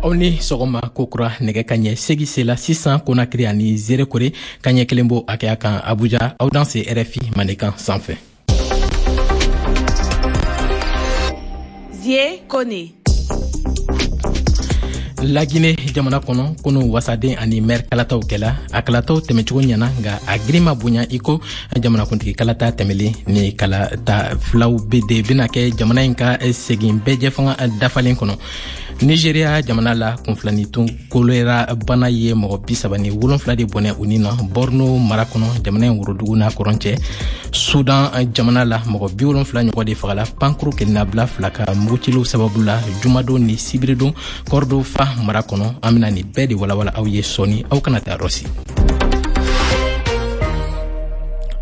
Aw ni sɔgɔma kokura. Nɛgɛ kaɲɛ 8 sela sisan Konakiri ani Zerekore, kaɲɛ 1 b'o hakɛya kan Abuja. Aw danse RFI Mandenkan sanfɛ. Zie Kone. Lagine jamana kɔnɔ, kunu wasaden ani mɛri kalataw kɛla. A kalataw tɛmɛcogo ɲɛna, nka a girin ma bonya i ko jamanakuntigi kalata tɛmɛlen. Ni kalata filaw be de bena kɛ jamana in ka segin bɛɛjɛfanga dafalen kɔnɔ. Nigeria jamana la, kunfilanitun kolera bana ye mɔgɔ 37 de bɔnɛ u ni na Borno mara kɔnɔ, jamana in worodugu n'a kɔrɔn cɛ. Sudan jamana la, mɔgɔ 70 ɲɔgɔn de fagala pankuru kelennabila fila ka muguciliw sababu la jumadon ni sibiridon Kɔrɔdofa mara kɔnɔ. An bena nin bɛɛ de walawala aw ye sɔɔni, aw kana taa rɔsi.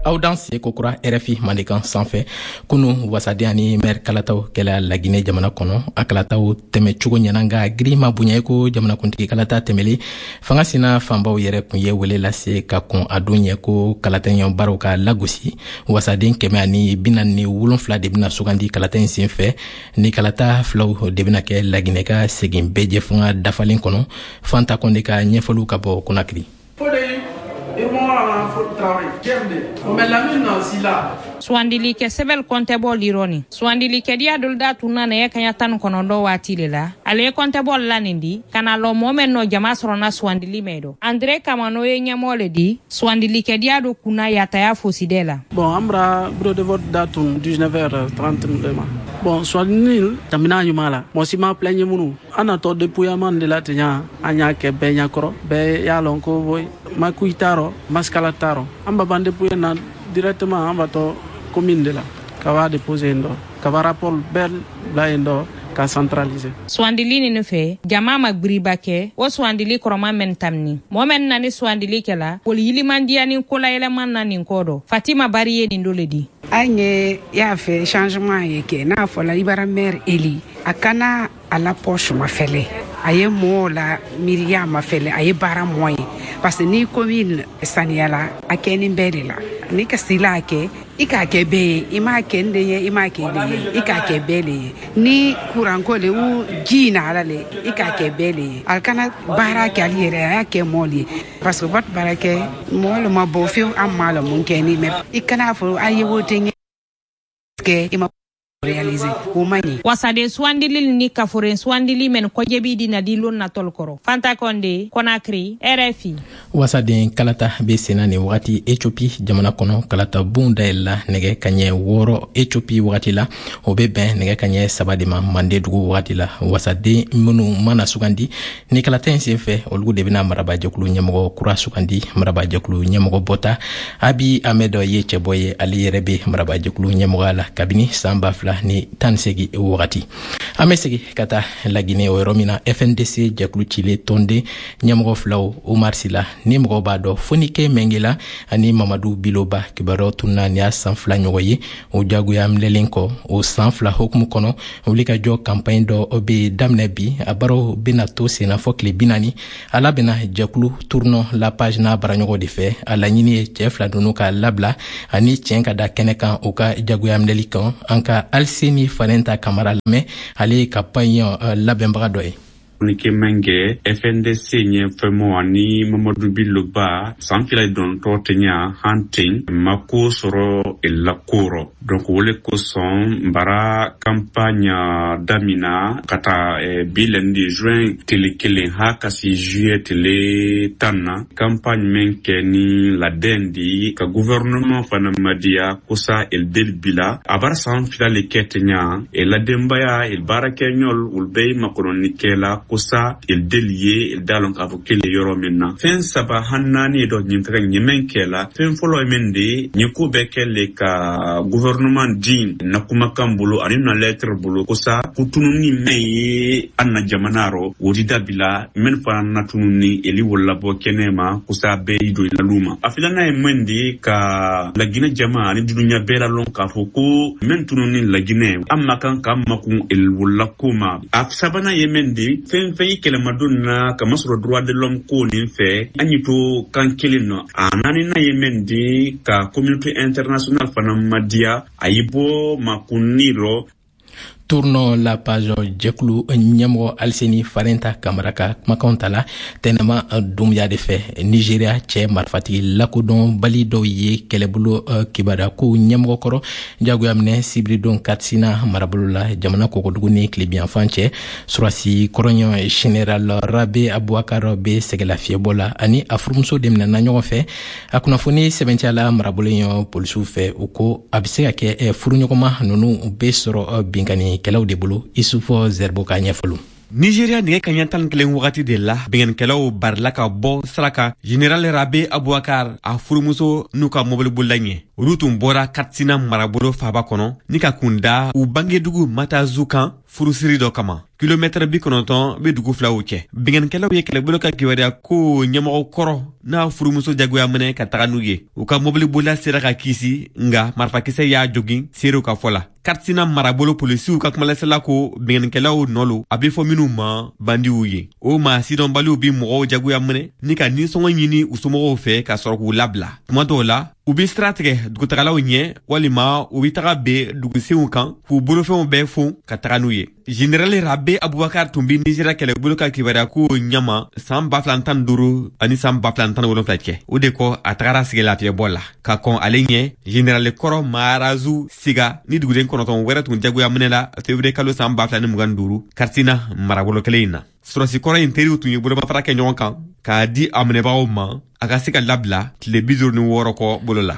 Aw danse kokura RFI Mandenkan sanfɛ. Kunu wasaden ani mɛri kalataw kɛla Laginɛ jamana kɔnɔ. A kalataw tɛmɛcogo ɲɛna, nka giri ma bonya i ko jamanakuntigi kalata tɛmɛlen. Fanga sina fanbaw yɛrɛ kun ye wele lase ka kɔn a don ɲɛ ko kalata in baaraw ka lagosi. Wasaden 147 de bɛna sugandi kalata in sen fɛ. Ni kalata filaw de bɛna kɛ Laginɛ ka segin bɛɛjɛfanga dafalen kɔnɔ. Fanta Kɔnde ka ɲɛfɔliw ka bɔ Konakiri. Suwandili kɛ sɛbɛl kɔntɛbɔ lirɔni suwandili kɛdiya dolu da tun na nɛgɛ kaɲa 19 waati le la. Ale ye kɔntɛbɔ la nin di ka na lɔ mɔɔ mɛn nɔ jama sɔrɔna suwandili mɛn dɔ. Andre Kamano ye ɲɛmɔgɔ le di suwandili kɛdiya do kunna yataya fosidɛ la. Bon, an bara bureau de vote da tun 19h30 de ma. Bon, suwandili tamina ɲuman la, mɔgɔ si ma plaigner minnu an natɔ dépouillement de la ten. An y'a kɛ bɛɛ ɲɛkɔrɔ, bɛɛ y'a lɔn ko makuyi t'a rɔ, masikala t'a rɔ. An ba ban dépouiller na directement, an batɔ commune de la ka b'a déposer yen dɔ, ka ba rapport bɛɛ bila yen dɔ ka centraliser. Suwandili nin fɛ, jama ma gbiriba kɛ o suwandili kɔrɔma mɛn tamini. Mɔɔ mɛn na ni suwandili kɛla woli yilimandiya ni kolayɛlɛman na nin kɔ dɔ. Fatima Bari ye nin do le di. An ye y'a fɛ changement ye kɛ n'a fɔla i bara maire élu, a kana a la poche ma fɛlɛ, a ye mɔɔw la miiriya ma fɛlɛ, a ye baara mɔ ye, parce que ni commune saniyala, a kɛni bɛɛ de la. Ni ka sila a kɛ, i k'a kɛ bɛɛ ye. I m'a kɛ n den ye, i m'a kɛ den ye, i k'a kɛ bɛɛ le ye. Ni kuranko le u ji na ala le, i k'a kɛ bɛɛ le ye. A kana baara kɛ ale yɛrɛ, a y'a kɛ mɔɔ le ye, parce que vote baara kɛ mɔɔ le ma bɔ fewu. An m'a la mun kɛ ni mais i kana fɔ a ye wote kɛ, i ma réaliser, o ma ɲi. Wasaden suwandili ni kaforen suwandili mɛn kɔjɛbi di na di lon natɔl kɔrɔ. Fanta Kɔnde, Konakiri, RFI. Wasaden kalata bɛ senna nin wagati Ethiopie jamana kɔnɔ. Kalata bon dayɛlɛla nɛgɛ kaɲɛ 6 Ethiopie wagati la, o bɛ bɛn nɛgɛ kaɲɛ 3 de ma Mande dugu wagati la. Wasaden minnu mana sugandi ni kalata in sen fɛ, olu de bɛna marabajɛkulu ɲɛmɔgɔ kura sugandi. Marabajɛkulu ɲɛmɔgɔ bɔta Abi Ahmed ye cɛbɔ ye. Ale yɛrɛ bɛ marabajɛkulu ɲɛmɔgɔya la kabini san 2018 wagati. An bɛ segin ka taa Lagine, o yɔrɔ min na FNDC jɛkulu cilen tɔnden ɲɛmɔgɔ filaw, Umar Sila ni mɔgɔw b'a dɔn Fonike Mɛngela ani Mamadu Biloba, kibaruyaw tununa nin y'a san 2 ɲɔgɔn ye o jagoya minɛlen kɔ. O san 2 hukumu kɔnɔ, wulikajɔ kanpaɲi dɔ bɛ daminɛ bi. A baaraw bɛna to senna fɔ tile 40. A labɛnna jɛkulu Tournons la page n'a baaraɲɔgɔn de fɛ. A laɲini ye cɛɛ fila ninnu ka labila ani tiɲɛ ka da kɛnɛ kan u ka jagoya minɛli kan. An ka Aliseni Fanɛnta Kamara lamɛn, ale ye kanpaɲi labɛnbaga dɔ ye. Fonike Mɛngɛ, FNDC ɲɛfɛmɔ ani Mamadu Biloba, san 2 dɔntɔ tɛɲa han ten ma ko sɔrɔ la ko rɔ. Donc o le kosɔn bara campagne damina ka taa bi lɛndi juin tele 1 ha ka si juillet tele 10 na. Campagne min kɛ ni ladɛn di ka gouvernement fana madiya kosa el del bila a bara san 2 le kɛ tɛɲa e ladenbaya el baarakɛɲɔl olu bɛɛ ye makɔnɔni kɛla kosa el del ye el da lɔn k'a fɔ kele yɔrɔ min na. Fɛn saba han naani dɔ ɲin fɛgɛ ɲɛmɛn kɛla. Fɛn fɔlɔ ye min de ɲin ko bɛɛ kɛ le ka gouvernement di na kumakan bolo ani na lettre bolo kosa kutununi mɛn ye an na jamana rɔ, o di dabila. Mɛn fana na tununi eli wolo labɔ kɛnɛ ma kosa bɛɛ y'i don lalu ma. A filanan ye mɛn de ka Laginɛ jama ani dunuya bɛɛ la lɔn k'a fɔ ko mɛn tununi Laginɛ, an ma kan k'an makun el wolola ko ma. A sabanan ye mɛn de fɛn fɛn ye kɛlɛmadon na kamasɔrɔ droit de l'homme ko nin fɛ, an y'i to kan kelen nɔ. A naaninan ye mɛn de ka communauté internationale fana madiya a y'i bɔ makunni rɔ. Tournons la page jɛkulu ɲɛmɔgɔ Aliseni Farenta Kamara ka kumakanw tala Tɛnɛma Dunbuya de fɛ. Nigeria cɛ marifatigi lakodɔnbali dɔw ye kɛlɛbolo kibaruyakow ɲɛmɔgɔ kɔrɔ jagoya minɛ sibiridon Katsina marabolo la, jamana kɔgɔdugu ni tilebiyanfan cɛ. Surasi kɔrɔɲɔ Général Rabe Abubakar bɛ sɛgɛlafiɲɛbɔ la, ani a furumuso de minɛna ɲɔgɔn fɛ. A kunnafoni sɛbɛntiyala marabolo in polisiw fɛ. U ko a bɛ se ka kɛ furuɲɔgɔnma ninnu bɛ sɔrɔ binkannikɛlaw de bolo. Isufɔ Zɛribo ka ɲɛfɔliw. Nigeria nɛgɛ kaɲɛ 11 wagati de la, binkannikɛlaw barila ka bɔ sira kan Général Rabe Abubakar, a furumuso n'u ka mobilibolila ɲɛ. Olu tun bɔra Katsina marabolo faaba kɔnɔ ni ka kun da u bangedugu Matazu kan furusiri dɔ kama. Kilomɛtɛrɛ 90 bɛ dugu filaw cɛ. Binkannikɛlaw ye kɛlɛbolo ka kibaruya ko ɲɛmɔgɔ kɔrɔ n'a furumuso jagoya minɛ ka taga n'u ye. U ka mobilibolila sera ka kisi, nka marifakisɛ y'a jogin, seerew ka fɔ la. Katsina marabolo polisiw ka kumalasela ko binkannikɛlaw nɔ lo, a bɛ fɔ minnu ma bandiw ye. O maa sidɔnbaliw bi mɔgɔw jagoya minɛ ni ka nisɔngɔ ɲini u somɔgɔw fɛ ka sɔrɔ k'u labila. Tuma dɔw la, u bɛ sira tigɛ dugutagalaw ɲɛ, walima u bɛ taga ben dugusenw kan k'u bolofɛnw bɛɛ fon ka taga n'u ye. Général Rabe Abubakar tun bɛ Nigeria kɛlɛbolo ka kibaruya ko ɲɛma san 2015 ani san 2017 cɛ. O de kɔ, a tagara sigi lafiyɛbɔ la. Ka kɔn ale ɲɛ, Général kɔrɔ Maharazu Siga ni duguden 9 wɛrɛ tun jagoya minɛ la février kalo san 2025 Katsina marabolo kelen in na. Sɔrɔsi kɔrɔ in teriw tun ye bolomafara kɛ ɲɔgɔn kan k'a di a minɛbagaw ma a ka se ka labila tile 56 kɔ bolo la.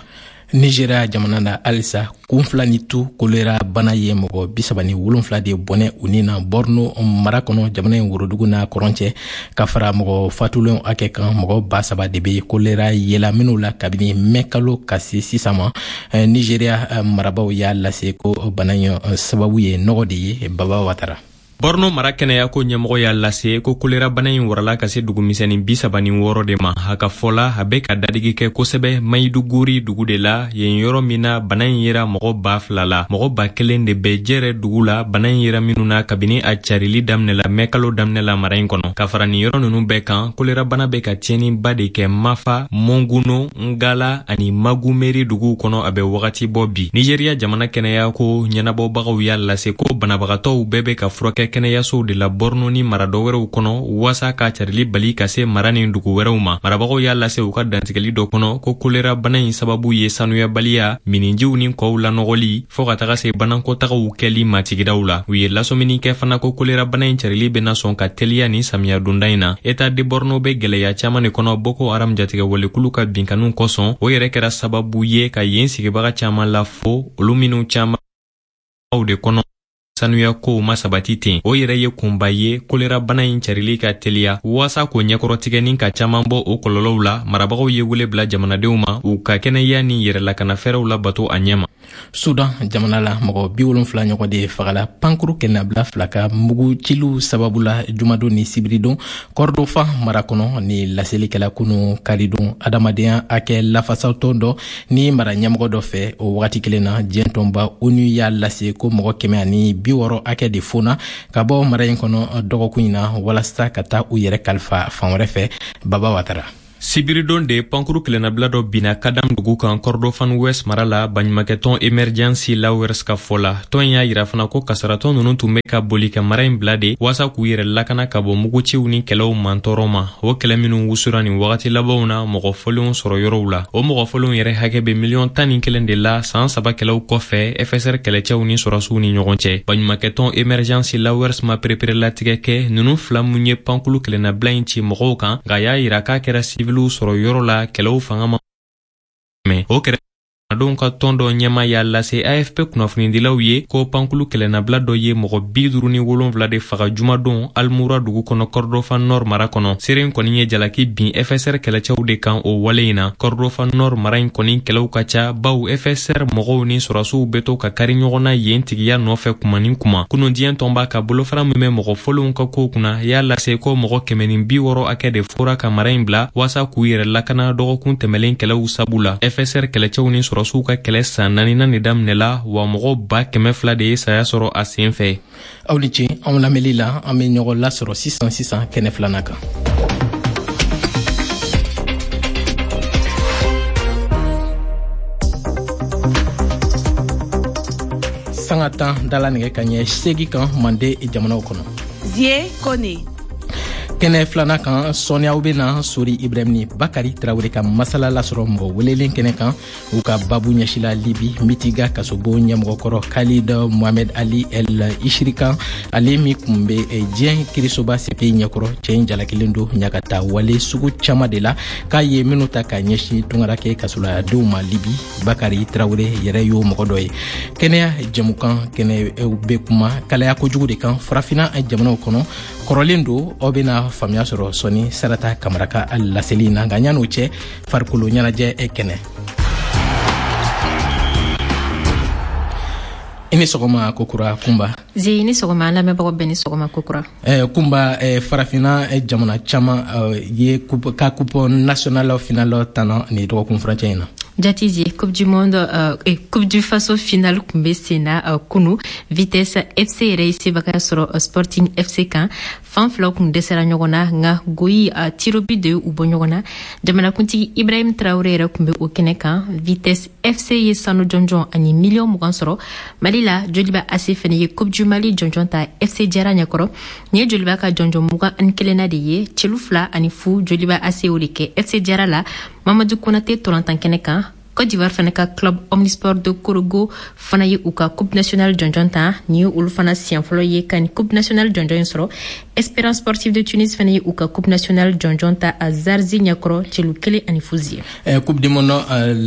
Nigeria jamana na halisa, kun fila ni tu kolera bana ye mɔgɔ 37 de bɔnɛ u ni na Borno mara kɔnɔ, jamana in worodugu n'a kɔrɔn cɛ. Ka fara mɔgɔ fatulenw hakɛ kan, mɔgɔ 3000 de bɛ kolera yela minw la kabini mɛ kalo ka se sisan ma. Nigeria marabaw y'a lase ko bana in sababu ye nɔgɔ de ye. Baba Watara. Borno mara kɛnɛyako ɲɛmɔgɔ y'a lase ko kolera bana in warala ka se dugumisɛnnin 36 de ma. A ka fɔ la, a bɛ ka dadigi kɛ kosɛbɛ Mayiduguri dugu de la, yen yɔrɔ min na bana in yera mɔgɔ 2000 la. Mɔgɔ 1000 de bɛ Jɛrɛ dugu la, bana in yera minnu na kabini a carili daminɛ la mɛ kalo daminɛ la mara in kɔnɔ. Ka fara nin yɔrɔ ninnu bɛɛ kan, kolera bana bɛ ka tiɲɛniba de kɛ Mafa, Monguno, Ngala ani Magumeri duguw kɔnɔ a bɛ wagati bɔ bi. Nigeria jamana kɛnɛyako ɲɛnabɔbagaw y'a lase ko banabagatɔw bɛɛ bɛ ka furakɛ kɛnɛyasow de la Borno ni mara dɔ wɛrɛw kɔnɔ waasa ka carili bali ka se mara ni dugu wɛrɛw ma. Marabagaw y'a lase u ka dantigɛli dɔ kɔnɔ ko kolera bana in sababu ye sanuyabaliya, minijiw ni kɔw lanɔgɔli, fɔɔ ka taga se banankɔtagaw kɛli ma sigidaw la. U ye lasɔmini kɛ fana ko kolera bana in carili bɛna sɔn ka teliya ni samiya donda in na. État de Borno bɛ gwɛlɛya caaman de kɔnɔ Boko Haram jatigɛwalekulu ka binkanniw kosɔn. O yɛrɛ kɛra sababu ye ka yen sigibaga caaman lafo, olu minnu caaman de kɔnɔ sanuya kow ma sabati ten. O yɛrɛ ye kunba ye kolera bana in carili ka teliya. Waasa k'o ɲɛkɔrɔtigɛ ni ka caaman bɔ o kɔlɔlɔw la, marabagaw ye wele bila jamanadenw ma u ka kɛnɛya ni yɛrɛlakanafɛɛrɛw labato a ɲɛ ma. Sudan jamana la, mɔgɔ 70 ɲɔgɔn de fagala pankuru kɛnɛnabila fila ka mugu ciliw sababu la jumadon ni sibiridon Kɔrɔdofan mara kɔnɔ. Ni laseli kɛla kunu karidon adamadenya hakɛ lafasatɔn dɔ ni mara ɲɛmɔgɔ dɔ fɛ. O wagati kelen na, diɲɛ tɔnba ONU y'a lase ko mɔgɔ 160 hakɛ de fona ka bɔ mara in kɔnɔ dɔgɔkun in na walasa ka taa u yɛrɛ kalifa fan wɛrɛ fɛ. Baba Watara. Sibiridon de pankuru kɛlɛnabila dɔ binna Kadam dugu kan Kordofan West mara la, baɲumakɛtɔn Emergency Lawyers ka fɔ la. Tɔn y'a yira fana ko kasaratɔn ninnu tun bɛ ka boli ka mara in bila de waasa k'u yɛrɛ lakana ka bɔ muguciw ni kɛlɛw mantɔɔrɔ ma, o kɛlɛ minnu wusura nin wagati labanw na mɔgɔ fɔlenw sɔrɔ yɔrɔw la. O mɔgɔ fɔlenw yɛrɛ hakɛ bɛ miliyɔn 11 de la san 3 kɛlɛw kɔfɛ FSR kɛlɛcɛw ni sɔrɔsiw ni ɲɔgɔn cɛ. Baɲumakɛtɔn Emergency Lawyers ma pereperelatigɛ kɛ ninnu fila mun ye pankulu kɛlɛnabila in ci mɔgɔw kan, nka y'a yira k'a kɛra siviliw sɔrɔ yɔrɔ la kɛlɛw fanga ma mɛ. O kɛrɛdenw ka tɔn dɔ ɲɛma y'a lase AFP kunnafonidilaw ye ko pankulu kɛlɛnabila dɔ ye mɔgɔ 57 de faga jumadon Almura dugu kɔnɔ Kordofan Nord mara kɔnɔ. Seere in kɔni ye jalaki bin FSR kɛlɛcɛw de kan o wale in na. Kordofan Nord mara in kɔni kɛlɛw ka ca, baw FSR mɔgɔw ni sɔrɔsiw bɛ to ka kari ɲɔgɔn na yen tigiya nɔfɛ kuma ni kuma. Kunun, diɲɛ tɔnba ka bolofara min bɛ mɔgɔ fɔlenw ka kow kunna y'a lase ko mɔgɔ 160 hakɛ de fora ka mara in bila waasa k'u yɛrɛ lakana dɔgɔkun tɛmɛlen kɛlɛw sabu la. FSR kɛlɛcɛw ni sɔrɔsiw ka kɛlɛ san naaninan de daminɛla wa, mɔgɔ 200,000 de ye saya sɔrɔ a sen fɛ. Aw ni ce anw lamɛnli la. An bɛ ɲɔgɔn lasɔrɔ sisan sisan kɛnɛ filanan kan. sanga 10 dala nɛgɛ kaɲɛ 8 kan Mande jamanaw kɔnɔ. Zie Kone. Kɛnɛ filanan kan, sɔɔni aw bɛna Sori Ibrahim ni Bakari Tarawele ka masala lasɔrɔ mɔgɔ welelen kɛnɛ kan. U ka babu ɲɛsila Libi Mitiga kasobon ɲɛmɔgɔkɔrɔ Khalid Mohamed Ali El Ishiri kan, ale min kun bɛ diɲɛ kirisoba CPI ɲɛkɔrɔ. Cɛ in jalakilen don ɲagata wale sugu caman de la k'a ye minnu ta ka ɲɛsin tungarakɛ kasoladenw ma Libi. Bakari Tarawele yɛrɛ y'o mɔgɔ dɔ ye. Kɛnɛya jɛmukan kɛnɛ bɛ kuma kalaya kojugu de kan Farafinna jamanaw kɔnɔ. Kɔrɔlen don, aw bɛna faamuya sɔrɔ sɔni Sarata Kamara ka laseli na. Nka yan'o cɛ, farikolo ɲɛnajɛ kɛnɛ. I ni sɔgɔma kokura Kunba. Zi, ni sɔgɔma. An lamɛnbagaw bɛɛ ni sɔgɔma kokura. Kunba, Farafinna jamana caman ye ka coupe nationale finale tana ni dɔgɔkun furancɛ in na. Jati Zi, Coupe du Monde, Coupe du Faso finale kun bɛ sen na kunu. Vitesse FC yɛrɛ ye sebagaya sɔrɔ Sporting FC kan. Fan filaw kun dɛsɛra ɲɔgɔn na, nka goyi tirobi de y'u bɔ ɲɔgɔn na. Jamanakuntigi Ibrahim Traoré yɛrɛ kun bɛ o kɛnɛ kan. Vitesse FC ye sanu jɔnjɔn ani miliyɔn 20 sɔrɔ. Mali la, Joliba AC fɛnɛ ye Coupe du Mali jɔnjɔn ta FC Jara ɲɛkɔrɔ. Nin ye Joliba ka jɔnjɔn 21nan de ye. Celu 2-0 Joliba AC o de kɛ FC Jara la Mamadu Konate tolantan kɛnɛ kan. Côte d'Ivoire fana ka club Omnisport de Korogo fana ye u ka Coupe nationale jɔnjɔn ta. Nin ye olu fana siɲɛ fɔlɔ ye ka nin Coupe nationale jɔnjɔn in sɔrɔ. Espérance sportive de Tunis fana ye u ka Coupe nationale jɔnjɔn ta a Zarzi ɲɛkɔrɔ, celu 1-0 zie. Coupe du Monde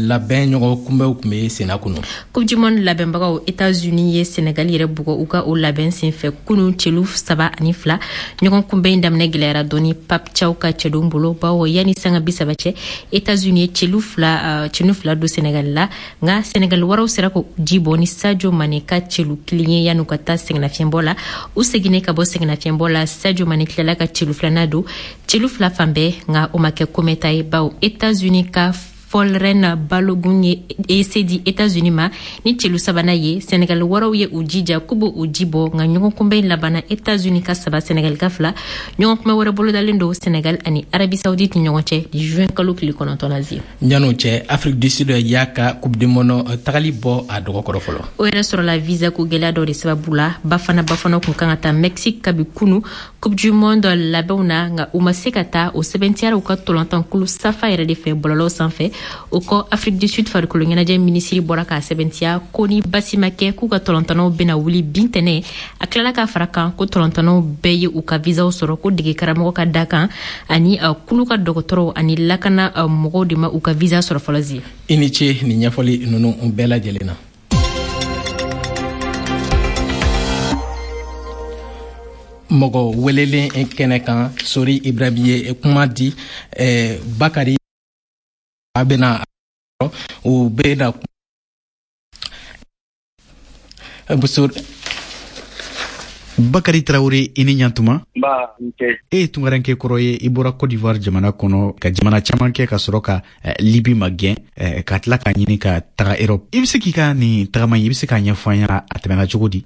labɛn ɲɔgɔn kunbɛnw tun bɛ senna kunu. Coupe du Monde labɛnbagaw États-Unis ye Sénégal yɛrɛ bugɔ u ka o labɛn senfɛ kunu, celu 3-2. Ɲɔgɔn kunbɛn in daminɛ gɛlɛyara dɔɔni Pape Thiaw ka cɛdenw bolo, bawo yanni sanga 30 cɛ, États-Unis ye celu fila don Sénégal la. Nka Sénégal waraw sera k'o ji bɔ ni Sadio Mané ka celu 1 ye yan'u ka taa sɛgɛnnafiɲɛbɔ la. U seginnen ka bɔ sɛgɛnnafiɲɛbɔ la, Sadio Mané tilala ka celu filanan don, celu 2 fan bɛɛ, nka o ma kɛ komɛta ye, bawo États-Unis ka Fɔlren Balogun ye se di États-Unis ma ni celu sabanan ye. Sénégal waraw ye u jija k'u b'o ji bɔ, nka ɲɔgɔn kunbɛn labanna États-Unis ka 3, Sénégal ka 2. Ɲɔgɔn kunbɛn wɛrɛ bolodalen don Sénégal ani Arabie Saoudite ni ɲɔgɔn cɛ juin kalo tile 9 na zie. Yan'o cɛ, Afrique du Sud y'a ka Coupe du Monde tagali bɔ a dɔgɔkɔrɔ fɔlɔ. O yɛrɛ sɔrɔla visa ko gɛlɛya dɔ de sababu la. Bafana kun kan ka taa Mexique kabi kunu Coupe du Monde labɛnw na, nka u ma se ka taa. O sɛbɛntiyara u ka tolantankulu Safa yɛrɛ de fɛ bɔlɔlɔw sanfɛ. O kɔ, Afrique du Sud farikolo ɲɛnajɛ minisiri bɔra k'a sɛbɛntiya ko ni basi ma kɛ, k'u ka tɔlɔntanaw bɛna wuli bin tɛnɛ. A tilala k'a fara kan ko tɔlɔntanaw bɛɛ ye u ka visaw sɔrɔ, ko dege karamɔgɔ ka da kan ani kulu ka dɔgɔtɔrɔw ani lakana mɔgɔw de ma u ka visa sɔrɔ fɔlɔ zie. I ni ce nin ɲɛfɔli ninnu bɛɛ lajɛlen na. Mɔgɔ welelen kɛnɛ kan, Sori Ibrahim ye kuma di Bakari a bɛna u bɛna Bakari Traoré, i ni ɲantuma. E ye tungaranke kɔrɔ ye, i bɔra Côte d'Ivoire jamana kɔnɔ ka jamana caman kɛ ka sɔrɔ ka Libi magɛn, ka tila k'a ɲini ka taga Europe. I bɛ se k'i ka nin tagama in, i bɛ se k'a ɲɛfɔ an ɲɛna a tɛmɛna cogo di?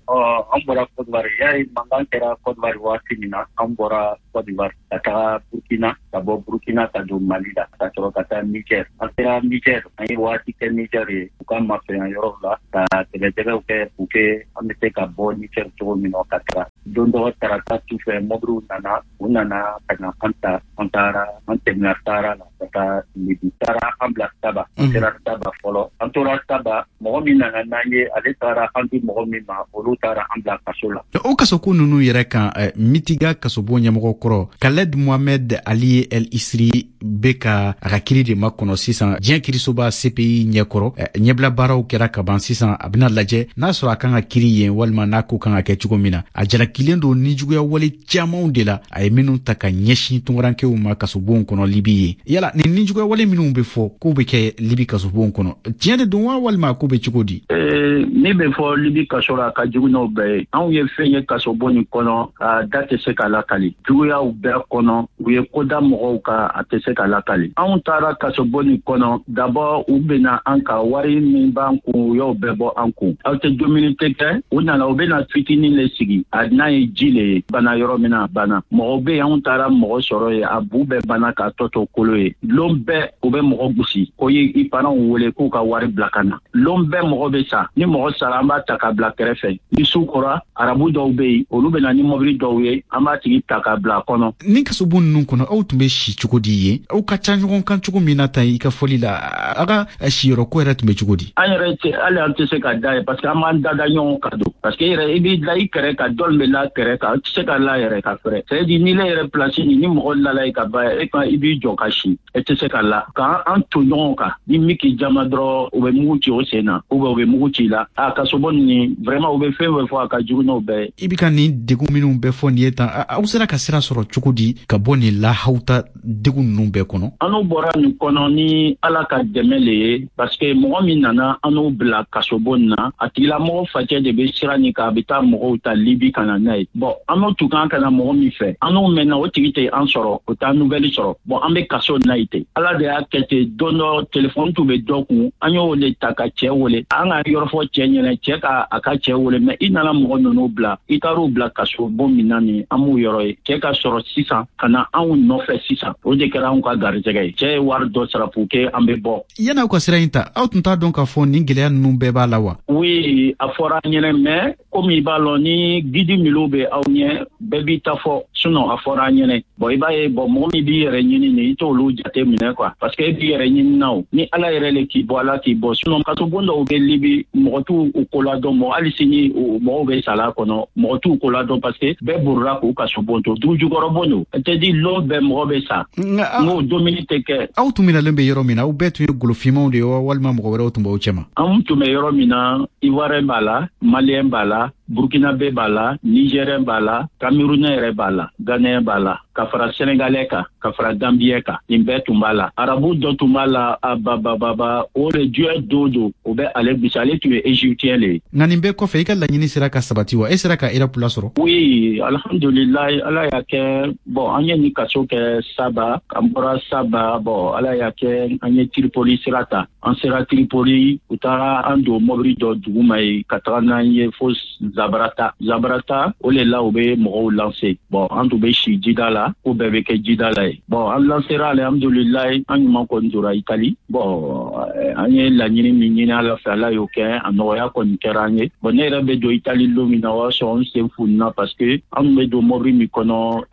An bɔra Côte d'Ivoire, yari mankan kɛra Côte d'Ivoire waati min na, an bɔra Côte d'Ivoire ka taga Burkina, ka bɔ Burkina ka don Mali la, ka sɔrɔ ka taa Niger. An sera Niger, an ye waati kɛ Niger ye, u ka mafɛnya yɔrɔw la ka tɛgɛtɛgɛw kɛ pour que an bɛ se ka bɔ Niger cogo min na ka taga. Don dɔ tarata su fɛ, mɔbiliw nana, u nana ka na an ta, an taara, an tɛmɛna Sahara la ka taa Libi. Taara an bila Saba, an sera Saba fɔlɔ, an tora Saba. Mɔgɔ min nana n'an ye, ale taara an di mɔgɔ min ma, olu taara an bila kaso la. O kasoko ninnu yɛrɛ kan, Mitiga kasobon ɲɛmɔgɔ kɔrɔ Khaled Mohamed Ali El Isri bɛ ka a ka kiri de makɔnɔ sisan diɲɛ kirisoba CPI ɲɛkɔrɔ. Ɲɛbila baaraw kɛra ka ban sisan, a bɛna lajɛ n'a sɔrɔ a kan ka kiri yen walima n'a ko kan ka kɛ cogo min na. A jalakilen don nijuguya wale camanw de la, a ye minnu ta ka ɲɛsin tungarankew ma kasobonw kɔnɔ Libi ye. Yala nin nijuguya wale minnu bɛ fɔ k'u bɛ kɛ Libi kasobonw kɔnɔ, tiɲɛ de don wa walima k'u bɛ cogo di? Min bɛ fɔ Libi kaso la, a ka jugu n'o bɛɛ ye. Anw ye fɛn ye kasobon nin kɔnɔ, a da tɛ se ka lakali. Juguyaw bɛɛ kɔnɔ, u ye ko da mɔgɔw kan, a tɛ se ka lakali. Anw taara kasobon nin kɔnɔ, d'abord u bɛna an ka wari min b'an kun, u y'o bɛɛ bɔ an kun. Aw tɛ dumuni tɛ kɛ, u nana u bɛna fitinin le sigi, a n'a ye ji le ye, bana yɔrɔ min na a banna. Mɔgɔw bɛ yen, anw taara mɔgɔ sɔrɔ yen, a bu bɛɛ banna k'a tɔ to kolo ye. Lon bɛɛ u bɛ mɔgɔ gosi ko i parents wele k'u ka wari bila ka na. Lon bɛɛ mɔgɔ bɛ sa, ni mɔgɔ sara an b'a ta k'a bila kɛrɛfɛ. Ni su kora, arabu dɔw bɛ yen, olu bɛ na ni mɔbili dɔw ye, an b'a tigi ta k'a bila a kɔnɔ. Ni kasobon ninnu kɔnɔ, aw tun bɛ si cogo di yen? Aw ka ca ɲɔgɔn kan cogo min na tan i ka fɔli la, a ka siyɔrɔko yɛrɛ tun bɛ cogo di? An yɛrɛ tɛ, hali an tɛ se ka da ye, parce que an b'an dada ɲɔgɔn kan don, parce que e yɛrɛ i b'i da i kɛrɛ kan, dɔ bɛ la kɛrɛ kan, i tɛ se ka la yɛrɛ ka fɛrɛ. C'est à dire n'i yɛrɛ place nin, ni mɔgɔ lala ye ka ban, e kan i b'i jɔ ka si, e tɛ se ka la. K'an an to ɲɔgɔn kan, ni min k'i jama dɔrɔn, u bɛ mugu ci o sen na, ou bien u bɛ mugu ci i la. A kasobon nin vraiment, u bɛ fɛn fɛn fɔ, a ka jugu n'o bɛɛ ye. I bɛ ka nin degun minnu bɛɛ fɔ nin ye tan, aw sera ka sira sɔrɔ cogo di ka bɔ nin lahawuta degun ninnu bɛɛ kɔnɔ? An n'u bɔra nin kɔnɔ ni Ala ka dɛmɛ le ye, parce que mɔgɔ min nana an n'u bila kasobon na, a tigilamɔgɔ facɛ de bɛ sira nin kan, a bɛ taa mɔgɔw ta Libi ka na n'a ye. Bon, an n'o tun kan ka na mɔgɔ min fɛ, an n'u mɛnna, o tigi tɛ an sɔrɔ, o t'an nouvelle sɔrɔ. Bon, an bɛ kaso na yen ten. Ala de y'a kɛ ten, don dɔ telefɔni tun bɛ dɔ kun, an y'o le ta ka cɛ wele, an ka yɔrɔ fɔ cɛ ɲɛna, cɛ ka a ka cɛ wele, mais i nana mɔgɔ ninnu bila, i taar'u bila kaso bon min na nin, an m'u yɔrɔ ye. Cɛ ka sɔrɔ sisan ka na anw nɔfɛ sisan, o de kɛra anw ka garijɛgɛ ye. Cɛ ye wari dɔ sara pour que an bɛ bɔ. Yan'aw ka sira in ta, aw tun t'a dɔn k'a fɔ nin gɛlɛya ninnu bɛɛ b'a la wa? Oui, a fɔra an ɲɛna, mais komi i b'a lɔn ni guide minnu bɛ aw ɲɛ, bɛɛ b'i ta fɔ, sinon a fɔra an ɲɛna. Bon, i b'a ye, bon, mɔgɔ min b'i yɛrɛ ɲini nin, i t'olu jate minɛ quoi, parce que e b'i yɛrɛ ɲini na o, ni Ala yɛrɛ le k'i bɔ, Ala k'i bɔ. Sinon kasobon dɔw bɛ Libi, mɔgɔ t'u ko ladɔn, mɔgɔ hali sini mɔgɔw bɛ sala kɔnɔ, mɔgɔ t'u ko ladɔn, parce que bɛɛ borila k'u kasobon to, dugujukɔrɔbon don, tɛ di lon bɛɛ mɔgɔ bɛ sa, n'o dumuni tɛ kɛ. Aw tun minɛlen bɛ yɔrɔ min na, aw bɛɛ tun ye golofinmanw de ye wa, walima mɔgɔ wɛrɛw tun b'aw cɛma? Anw tun bɛ yɔrɔ min na, Ivoirien b'a la, Malien b'a la, Burkinabé b'a la, Nigérien b'a la, Camerounais yɛrɛ b'a la, Ghanéen b'a la, ka fara Sénégalais kan, ka fara Gambien kan, nin bɛɛ tun b'a la. Arabu dɔ tun b'a la, a babababa, o de diɲɛ don don, o bɛ ale bisi, ale tun ye Égyptien le ye. Nka nin bɛɛ kɔfɛ, i ka laɲini sera ka sabati wa? E sera ka Europe lasɔrɔ? Oui, alhamdulilayi, Ala y'a kɛ. Bon, an ye nin kaso kɛ Saba, an bɔra Saba, bon, Ala y'a kɛ an ye Tripoli sira ta. An sera Tripoli, u taara an don mɔbili dɔ duguma ye ka taga n'an ye fo Zabarata. Zabarata, o le la u bɛ mɔgɔw lancer. Bon, an tun bɛ si jida la, ko bɛɛ bɛ kɛ jida la ye. Bon, an lancera, alhamdulilayi, an ɲuman kɔni donna Itali. Bon, an ye laɲini min ɲini Ala fɛ, Ala y'o kɛ, a nɔgɔya kɔni kɛra an ye. Bon, ne yɛrɛ bɛ don Itali don min na, o y'a sɔrɔ n sen fununa, parce que an tun bɛ don mɔbili min kɔnɔ,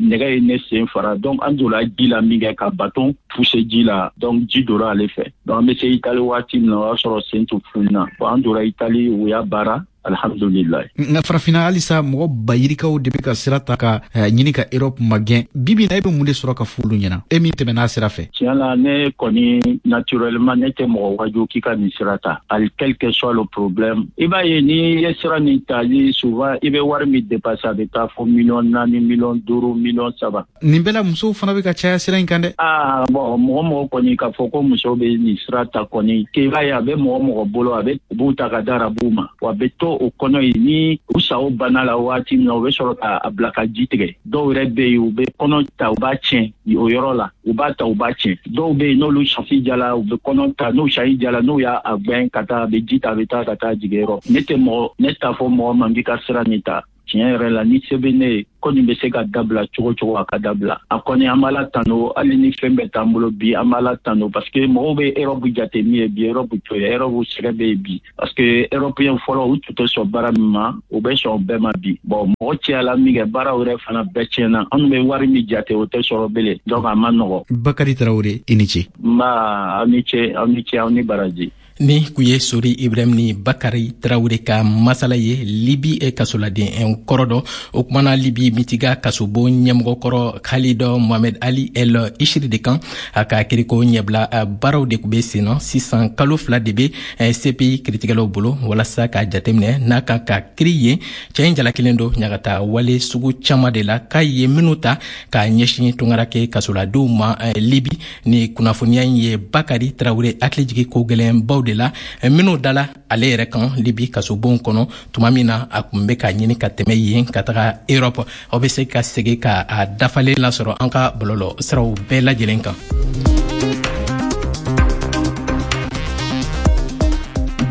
nɛgɛ ye ne sen fara. Donc an donna ji la min kɛ ka baton pousser ji la, donc ji donna ale fɛ. Donc an bɛ se Itali waati min na, o y'a sɔrɔ sen tun fununa. Bon, an donna Itali, u y'a baara, alhamdulilayi. Nka farafinna halisa mɔgɔ bayirikaw de bɛ ka sira ta ka ɲini ka Europe magɛn. Bibi na, e bɛ mun de sɔrɔ ka fɔ olu ɲɛna, e min tɛmɛna sira fɛ? Tiɲɛ la, ne kɔni naturellement ne tɛ mɔgɔ waju k'i ka nin sira ta, hali quel que soit le problème. I b'a ye, n'i ye sira nin ta, souvent i bɛ wari min dépenser, a bɛ taa fo 4 miliyɔn, 5 miliyɔn, 3 miliyɔn. Nin bɛɛ la, musow fana bɛ ka caya sira in kan dɛ. Aa bon, mɔgɔ mɔgɔ kɔni k'a fɔ ko musow bɛ nin sira ta kɔni, k'i b'a ye a bɛ mɔgɔ mɔgɔ bolo, a bɛ u b'u ta ka da arabuw ma, wa a bɛ to o kɔnɔ yen. Ni u sa o banna la waati min na, u bɛ sɔrɔ k'a bila ka ji tigɛ. Dɔw yɛrɛ bɛ yen, u bɛ kɔnɔ ta, u b'a tiɲɛ o yɔrɔ la, u b'a ta, u b'a tiɲɛ. Dɔw bɛ yen, n'olu chance jala, u bɛ kɔnɔ ta, n'u chance jala, n'u y'a gbɛn ka taa, a bɛ ji ta, a bɛ taa ka taa jigin yɔrɔ. Ne tɛ mɔgɔ, ne t'a fɔ mɔgɔ ma k'i ka sira nin ta. Tiɲɛ yɛrɛ la, ni se bɛ ne ye, ko nin bɛ se ka dabila cogo cogo, a ka dabila. A kɔni, an b'Ala tanu, hali ni fɛn bɛɛ t'an bolo bi, an b'Ala tanu, parce que mɔgɔw bɛ Europe jate min ye bi, Europe to ye, Europe sɛgɛ bɛ yen bi, parce que européen fɔlɔ, u tun tɛ sɔn baara min ma, u bɛ sɔn bɛɛ ma bi. Bon, mɔgɔ cayala min kɛ, baaraw yɛrɛ fana bɛɛ tiɲɛna. Anw bɛ wari min jate, o tɛ sɔrɔ bilen, donc a ma nɔgɔ. Bakari Tarawele, i ni ce. Nba, aw ni ce, aw ni ce, aw ni baraji. Ni kun ye Sori Ibrahim ni Bakari Tarawele ka masala ye, Libi kasoladen kɔrɔ dɔ. O kumana Libi Mitiga kasobon ɲɛmɔgɔ kɔrɔ Khalid Mohamed Ali El Ishiri de kan. A ka kiriko ɲɛbila baaraw de tun bɛ sen na sisan. Kalo 2 de bɛ CPI kiritigɛlaw bolo walasa k'a jateminɛ n'a kan ka kiri yen. Cɛ in jalakilen don ɲagata wale sugu caman de la, k'a ye minnu ta k'a ɲɛsin tunkarake kasoladenw ma Libi. Ni kunnafoniya in ye Bakari Tarawele hakili jigi ko gɛlɛnbaw. de la minnu dala ale yɛrɛ kan Libi kasobon kɔnɔ tuma min na a kun bɛ ka ɲini ka tɛmɛ yen ka taga Europe. Aw bɛ se ka segin ka a dafalen lasɔrɔ an ka bɔlɔlɔ siraw bɛɛ lajɛlen kan.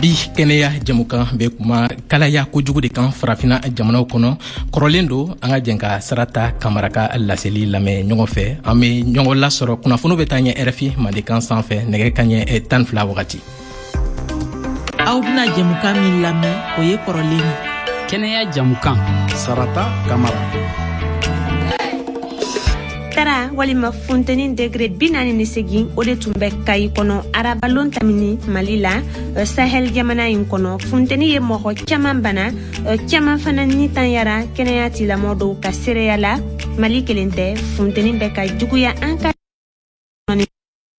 Bi kɛnɛya jɛmukan bɛ kuma kalaya kojugu de kan farafina jamanaw kɔnɔ. Kɔrɔlen don, an ka jɛn ka Sarata Kamara ka laseli lamɛn ɲɔgɔn fɛ. An bɛ ɲɔgɔn lasɔrɔ kunnafoniw bɛ taa ɲɛ RFI Mandenkan sanfɛ nɛgɛ kaɲɛ 12 wagati. Aw bɛna jɛmukan min lamɛn, o ye kɔrɔlen ye. Kɛnɛya jɛmukan. Sarata Kamara. Tara walima funteni degré 48, o de tun bɛ Kayi kɔnɔ arabalon tamini Mali la, Sahel jamana in kɔnɔ. Funteni ye mɔgɔ caman bana, caman fana ni tanyara kɛnɛya tigilamɔgɔ dɔw ka seereya la. Mali kelen tɛ, funteni bɛ ka juguya an ka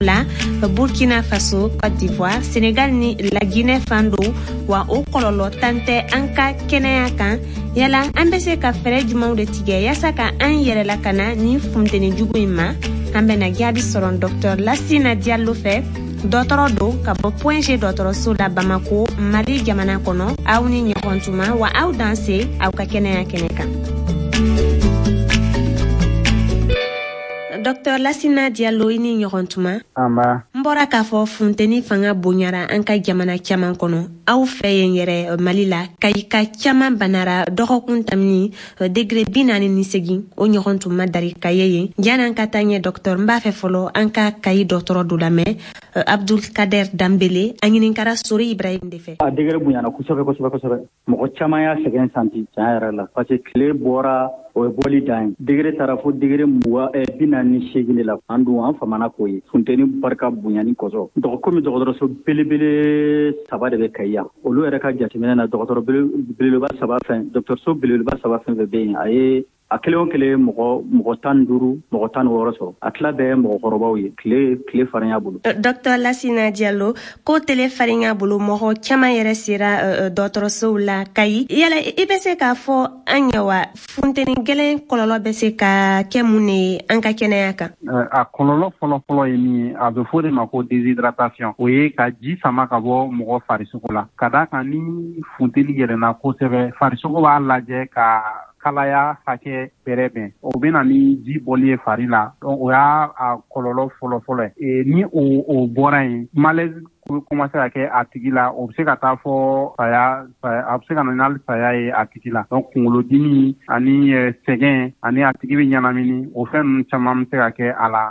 la Burkina Faso, Côte d'Ivoire, Sénégal ni la Guinée fan dɔw, wa o kɔlɔlɔ tan tɛ an ka kɛnɛya kan. Yala an bɛ se ka fɛɛrɛ jumɛnw de tigɛ yaasa ka an yɛrɛ lakana ni funteni jugu in ma? An bɛna jaabi sɔrɔ Dr Lasina Diallo fɛ, dɔgɔtɔrɔ don ka bɔ Point G dɔgɔtɔrɔso la Bamako, Mali jamana kɔnɔ. Aw ni ɲɔgɔn tuma wa aw danse aw ka kɛnɛya kɛnɛ kan. Dr Lasina Diallo, i ni ɲɔgɔn tuma. N bɔra k'a fɔ funteni fanga bonyara an ka jamana caman kɔnɔ. Aw fɛ yen yɛrɛ Mali la, Kayika caman banara dɔgɔkun tamini degré 48, o ɲɔgɔn tun ma dari ka ye yen. Janni an ka taa ɲɛ docteur, n b'a fɛ fɔlɔ an ka Kayi dɔgɔtɔrɔ dɔ lamɛn, Abdul Kader Danbele. A ɲininkara Sori Ibrahim de fɛ. A degré bonyana kosɛbɛ kosɛbɛ kosɛbɛ. Mɔgɔ caman y'a sɛgɛn santi tiɲɛ yɛrɛ la, parce que tile bɔra, o ye bɔli dan ye. Degré taara fo degré 28 de la. An dun an famana k'o ye funteni barika bonyani kosɔn. Komi dɔgɔtɔrɔso belebele saba de bɛ Kayi yan, olu yɛrɛ ka jateminɛ na, dɔgɔtɔrɔ belebeleba saba fɛn, dɔgɔtɔrɔso belebeleba saba fɛn fɛn bɛ yen, a ye a kelen o kelen mɔgɔ 15, mɔgɔ 16 sɔrɔ. A tila bɛɛ mɔgɔkɔrɔbaw ye, tile farinya bolo. Docteur Lasina Diallo, ko tile farinya bolo mɔgɔ caman yɛrɛ sera dɔgɔtɔrɔsow la Kayi. Yala i bɛ se k'a fɔ an ɲɛ wa, funteni gɛlɛn kɔlɔlɔ bɛ se ka kɛ mun de ye an ka kɛnɛya kan? A kɔlɔlɔ fɔlɔfɔlɔ ye min ye, a bɛ fɔ de ma ko déshydratation. O ye ka ji sama ka bɔ mɔgɔ farisogo la. Ka d'a kan ni funteni yɛlɛnna kosɛbɛ, farisogo b'a lajɛ ka kalaya hakɛ bɛrɛ bɛn, o bɛ na ni ji bɔli ye fari la. Donc o y'a a kɔlɔlɔ fɔlɔfɔlɔ ye. Ni o bɔra yen, malaise commencer ka kɛ a tigi la, o bɛ se ka taa fɔ saya, a bɛ se ka na n'hali saya ye a tigi la. Donc kunkolodimi ani sɛgɛn ani a tigi bɛ ɲɛnamini, o fɛn ninnu caman bɛ se ka kɛ a la.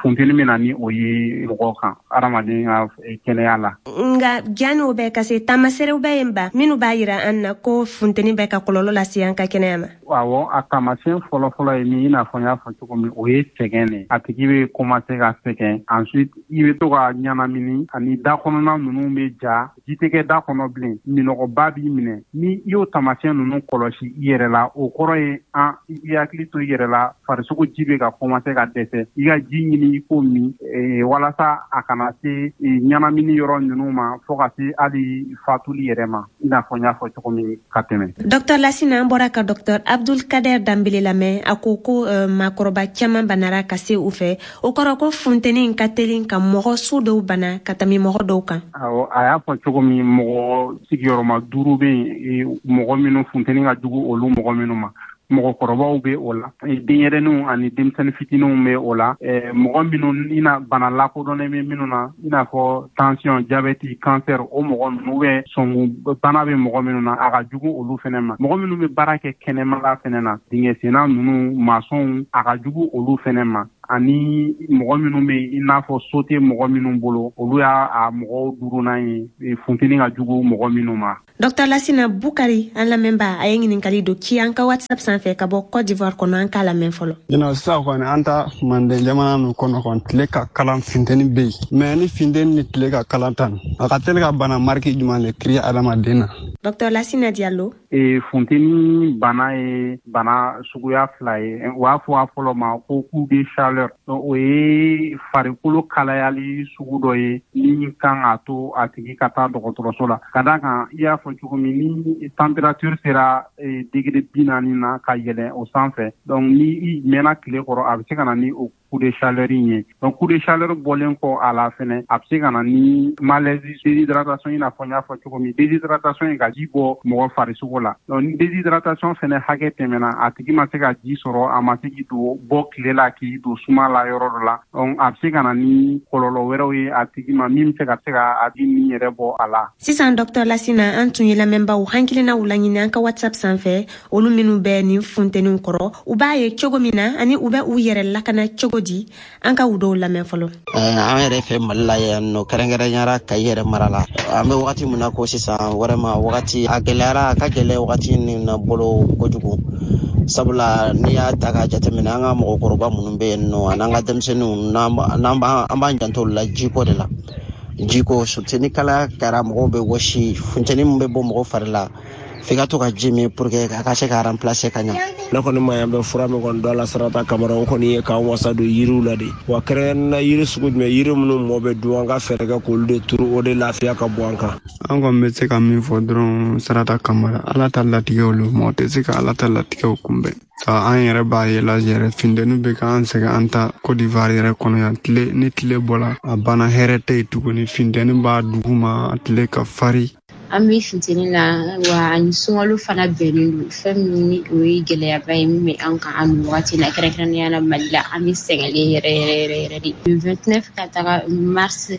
Funteni bɛ na ni o ye mɔgɔ kan, adamaden ka kɛnɛya la. Nka janni o bɛɛ ka se, taamaseerew bɛ yen ba minnu b'a yira an na ko funteni bɛ ka kɔlɔlɔ lase an ka kɛnɛya ma? Awɔ, a taamasiyɛn fɔlɔfɔlɔ ye min, i n'a fɔ n y'a fɔ cogo min, o ye sɛgɛn de. A tigi bɛ commencer ka sɛgɛn, ensuite i bɛ to ka ɲɛnamini ani da kɔnɔna ninnu bɛ ja, ji tɛ kɛ da kɔnɔ bilen, minɔgɔba b'i minɛ. Ni i y'o taamasiyɛn ninnu kɔlɔsi i yɛrɛ la, o kɔrɔ ye an i hakili to i yɛrɛ la, farisogo ji bɛ ka commencer ka dɛsɛ. I ka ji ɲini i k'o min walasa a kana se ɲɛnamini yɔrɔ ninnu ma fo ka se hali fatuli yɛrɛ ma, i n'a fɔ n y'a fɔ cogo min ka tɛmɛ. Docteur Lasina, an bɔra ka docteur Abdul Kader Danbele lamɛn. A ko ko maakɔrɔba caman banara ka se u fɛ, o kɔrɔ ko funteni ka teli ka mɔgɔ su dɔw bana ka tɛmɛ mɔgɔ dɔw kan. Awɔ, a y'a fɔ cogo min, mɔgɔ sigiyɔrɔma 5 bɛ yen, mɔgɔ minnu funteni ka jugu olu mɔgɔ minnu ma. Mɔgɔkɔrɔbaw bɛ o la, denyɛrɛninw ani denmisɛnnin fitininw bɛ o la, mɔgɔ minnu i na bana lakodɔnnen bɛ minnu na, i n'a fɔ tension, diabète, cancer, o mɔgɔ ninnu bɛ sɔngun bana bɛ mɔgɔ minnu na, a ka jugu olu fɛnɛ ma. Mɔgɔ minnu bɛ baara kɛ kɛnɛmala fɛnɛ na, dingɛsenna ninnu, masɔnw, a ka jugu olu fɛnɛ ma. Ani mɔgɔ minnu bɛ i n'a fɔ so tɛ mɔgɔ minnu bolo, olu y'a a mɔgɔw duurunan ye, funteni ka jugu mɔgɔ minnu ma. Dr Lasina Bukari, an lamɛnba, a ye ɲininkali dɔ ci an ka WhatsApp sanfɛ ka bɔ Côte d'Ivoire kɔnɔ, an k'a lamɛn fɔlɔ. Ɲinan sisan kɔni, an ta Manden jamana ninnu kɔnɔ kɔni, tile ka kalan, funteni bɛ yen, mais ni funteni ni tile ka kalan tan, a ka teli ka bana mariki jumɛn de créer adamaden na? Dr Lasina Diallo. Funteni bana ye bana suguya fila ye. U b'a fɔ a fɔlɔ ma ko coup de chaleur. O ye farikolo kalayali sugu dɔ ye min kan k'a to a tigi ka taa dɔgɔtɔrɔso la. Ka d'a kan, i y'a fɔ cogo min, ni température sera degré 40 na ka yɛlɛn o sanfɛ, donc ni i mɛnna tile kɔrɔ, a bɛ se ka na ni o coup de chaleur in ye. Donc coup de chaleur bɔlen kɔ a la fɛnɛ, a bɛ se ka na ni malaise, déshydratation, i n'a fɔ n y'a fɔ cogo min, déshydratation ye ka ji bɔ mɔgɔ farisogo la. Donc ni déshydratation fɛnɛ hakɛ tɛmɛna, a tigi ma se ka ji sɔrɔ, a ma se k'i don bɔ tile la, k'i don suma la yɔrɔ dɔ la, donc a bɛ se ka na ni kɔlɔlɔ wɛrɛw ye a tigi ma min bɛ se ka a tigi ni yɛrɛ bɔ a la. Sisan, Dr Lasina, an tun ye lamɛnbaw hakilinaw laɲini an ka WhatsApp sanfɛ, olu minnu bɛ nin funteniw kɔrɔ, u b'a ye cogo min na ani u bɛ u yɛrɛ lakana cogo di. An ka u dɔw lamɛn fɔlɔ. An yɛrɛ fɛ Mali la yan nɔ, kɛrɛnkɛrɛnyara Kayi yɛrɛ mara la, an bɛ wagati min na ko sisan, vraiment wagati a gɛlɛyara, a ka gɛlɛ wagati nin na bolo kojugu, sabula n'i y'a ta k'a jateminɛ, an ka mɔgɔkɔrɔba minnu bɛ yen nɔ an'an ka denmisɛnninw, n'an b'an janto olu la jiko de la. Jiko surtout, ni kalaya kɛra, mɔgɔw bɛ wɔsi, funteni min bɛ bɔ mɔgɔ fari la, f'i ka to ka ji min pour que a ka se ka remplacer ka ɲa. Ne kɔni ma yan bɛ fura min kɔni dɔ la, Sarata Kamara, o kɔni ye k'an wasa don yiriw la de wa. Kɛrɛnkɛrɛnnena yiri sugu jumɛn? Yiri minnu mɔ bɛ dun, an ka fɛɛrɛ kɛ k'olu de turu, o de lafiya ka bɔ an kan. An kɔni bɛ se ka min fɔ dɔrɔn, Sarata Kamara, Ala ta latigɛw lo, mɔgɔ tɛ se ka Ala ta latigɛw kunbɛn. Ka an yɛrɛ b'a ye la yɛrɛ, funteni bɛ k'an sɛgɛn an ta Côte d'Ivoire yɛrɛ kɔnɔ yan. Tile ni tile bɔla, a banna, hɛrɛ tɛ yen tuguni, funteni b'a duguma, tile ka fari. An bɛ funteni la wa, ani sunkalo fana bɛnnen don. Fɛn min ni o ye gɛlɛyaba ye min bɛ an kan an nin wagati la, kɛrɛnkɛrɛnnenya la Mali la, an bɛ sɛgɛnlen yɛrɛ yɛrɛ yɛrɛ yɛrɛ de. Le 29 ka taga mars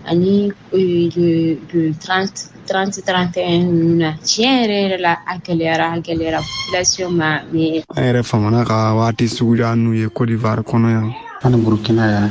ani le 30 30 31 ninnu na, tiɲɛ yɛrɛ yɛrɛ la, a gɛlɛyara, a gɛlɛyara population ma, mais An yɛrɛ famana ka waati suguya n'u ye Côte d'Ivoire kɔnɔ yan. Ani Burukina yan,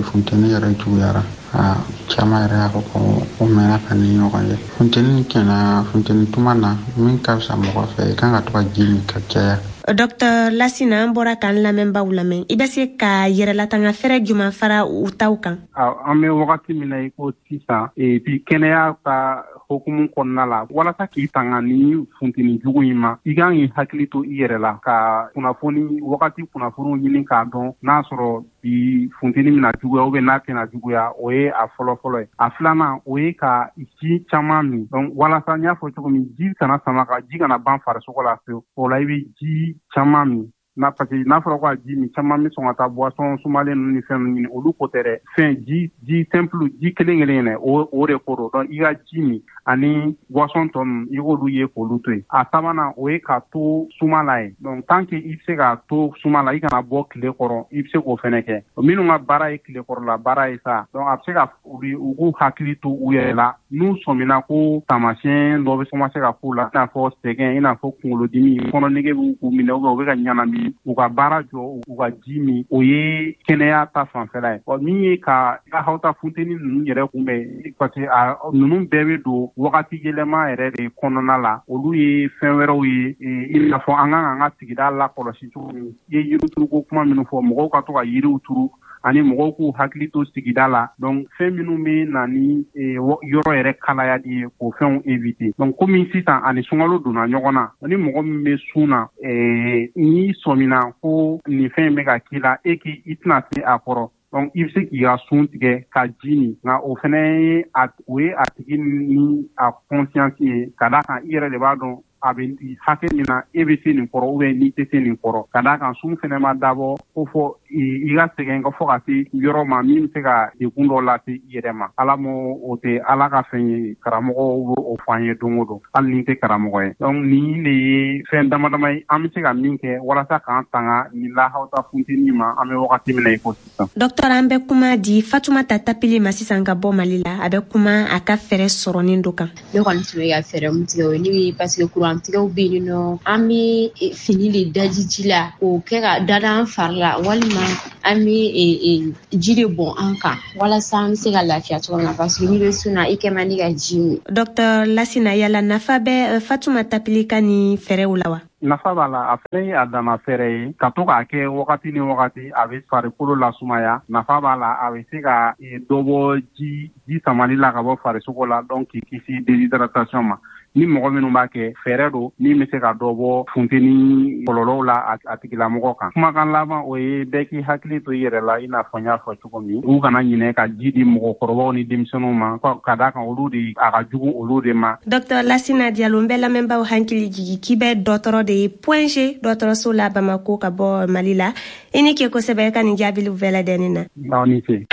funteni yɛrɛ juguyara, a caman yɛrɛ y'a fɔ ko o mɛnna ka ni ɲɔgɔn ye. Funteni kɛnɛ, funteni tuma na, min ka fisa mɔgɔ fɛ, i kan ka to ka ji min ka caya. Dr Lasina, an bɔra k'an lamɛnbaw lamɛn. I bɛ se ka yɛrɛlatanga fɛrɛ juman fara u taw kan? An bɛ wagati min na i ko sisan, bi kɛnɛya ka hokumu kɔnɔna la, walasa k'i tanga ni funteni jugu in ma, i kan k'i hakili to i yɛrɛ la, ka kunnafoni wagati kunnafoniw ɲini k'a dɔn n'a sɔrɔ bi funteni bɛna juguya ou bien n'a tɛna juguya. O ye a fɔlɔ-fɔlɔ ye. A filanan, o ye ka ji caman min. Donc walasa n y'a fɔ cogo min, ji kana sama ka ji kana ban farisogo la fewu, o la i bɛ ji caman min na, parce que n'a fɔra ko ka ji min caman, bɛ sɔn ka taa boisson sumalen ninnu ni fɛn ninnu ɲini, olu ko tɛ dɛ. Fɛn ji simple, ji kelen kelen yɛrɛ, o de ko don. Donc i ka ji min ani boisson tɔ ninnu, i k'olu ye k'olu to yen. A sabanan, o ye ka to suma la yen. Donc tant que i bɛ se ka to suma la, i kana bɔ tile kɔrɔ, i bɛ se k'o fɛnɛ kɛ. Minnu ka baara ye tile kɔrɔla baara ye sa, donc a bɛ se ka olu, u k'u hakili to u yɛrɛ la n'u sɔmina ko taamasiyɛn dɔ bɛ commencer ka k'u la, i n'a fɔ sɛgɛn, i n'a fɔ kunkolodimi, kɔnɔnege b'u k'u minɛ, ou bien u bɛ ka ɲɛnamini, u ka baara jɔ, u ka ji min. O ye kɛnɛya ta fanfɛla ye. Ɔ min ye ka hawuta funteni ninnu yɛrɛ kunbɛn, parce que a ninnu bɛɛ bɛ don wagati yɛlɛma yɛrɛ de kɔnɔna la, olu ye fɛn wɛrɛw ye, i n'a fɔ an kan k'an ka sigida lakɔlɔsi cogo min. I ye yirituruko kuma minnu fɔ, mɔgɔw ka to ka yiriw turu ani mɔgɔw k'u hakili to sigida la. Donc fɛn minnu bɛ na ni yɔrɔ yɛrɛ kalayali ye, k'o fɛnw éviter. Donc komi sisan ani sunkalo donna ɲɔgɔn na, ni mɔgɔ min bɛ sun na, n'i sɔmina ko nin fɛn in bɛ ka k'i la, e k'i i tɛna se a kɔrɔ, donc i bɛ se k'i ka sun tigɛ ka ji min. Nka o fɛnɛ ye a o ye a tigi ni a conscience ye, ka d'a kan i yɛrɛ de b'a dɔn a bɛ hakɛ min na e bɛ se nin kɔrɔ ou bien n'i tɛ se nin kɔrɔ, ka d'a kan sun fɛnɛ ma dabɔ ko fɔ i ka sɛgɛn ka fɔ ka se yɔrɔ ma min bɛ se ka degun dɔ lase i yɛrɛ ma. Ala m'o o tɛ Ala ka fɛn ye. Karamɔgɔw b'o o fɔ an ye don o don, hali ni tɛ karamɔgɔ ye. Donc nin de ye fɛn dama dama ye an bɛ se ka min kɛ walasa k'an tanga nin lahawuta funteni ma, an bɛ wagati min na i ko sisan. Dɔktɔr, an bɛ kuma di Fatumata Tapili ma sisan ka bɔ Mali la. A bɛ kuma a ka fɛɛrɛ sɔrɔnin dɔ kan. Ne kɔni tun bɛ ka fɛɛrɛ min tigɛ, o ye ne bɛ, parce que kurantigɛw bɛ yen nɔ, an bɛ fini de daji ji la k'o kɛ ka da an fari la, walima an bɛ ji de bɔn an kan walasa an bɛ se ka lafiya cogo min na, parce que n'i bɛ sun na, i kɛ man di ka ji min. Dɔktɔr Lasina, yala nafa bɛ Fatuma Tapili ka nin fɛɛrɛw la wa? Nafa b'a la. A fɛnɛ ye a dama fɛɛrɛ ye ka to k'a kɛ wagati ni wagati, a bɛ farikolo lasumaya. Nafa b'a la, a bɛ se ka dɔ bɔ ji samali la ka bɔ farisogo la, donc k'i kisi déshydratation ma. Ni mɔgɔ minnu b'a kɛ, fɛɛrɛ don min bɛ se ka dɔ bɔ funteni kɔlɔlɔw la a tigilamɔgɔ kan. Kumakan laban, o ye bɛɛ k'i hakili to i yɛrɛ la. I n'a fɔ n y'a fɔ cogo min, u kana ɲinɛ ka ji di mɔgɔkɔrɔbaw ni denmisɛnninw ma, ka d'a kan olu de a ka jugu olu de ma. Dr Lasina Diallo, n bɛ lamɛnbaaw hakili jigi k'i bɛ dɔgɔtɔrɔ de ye Point G dɔgɔtɔrɔso la Bamako, ka bɔ Mali la. I ni ke kosɛbɛ ka nin jaabiliw bɛɛ ladɛnni na. Aw ni ce.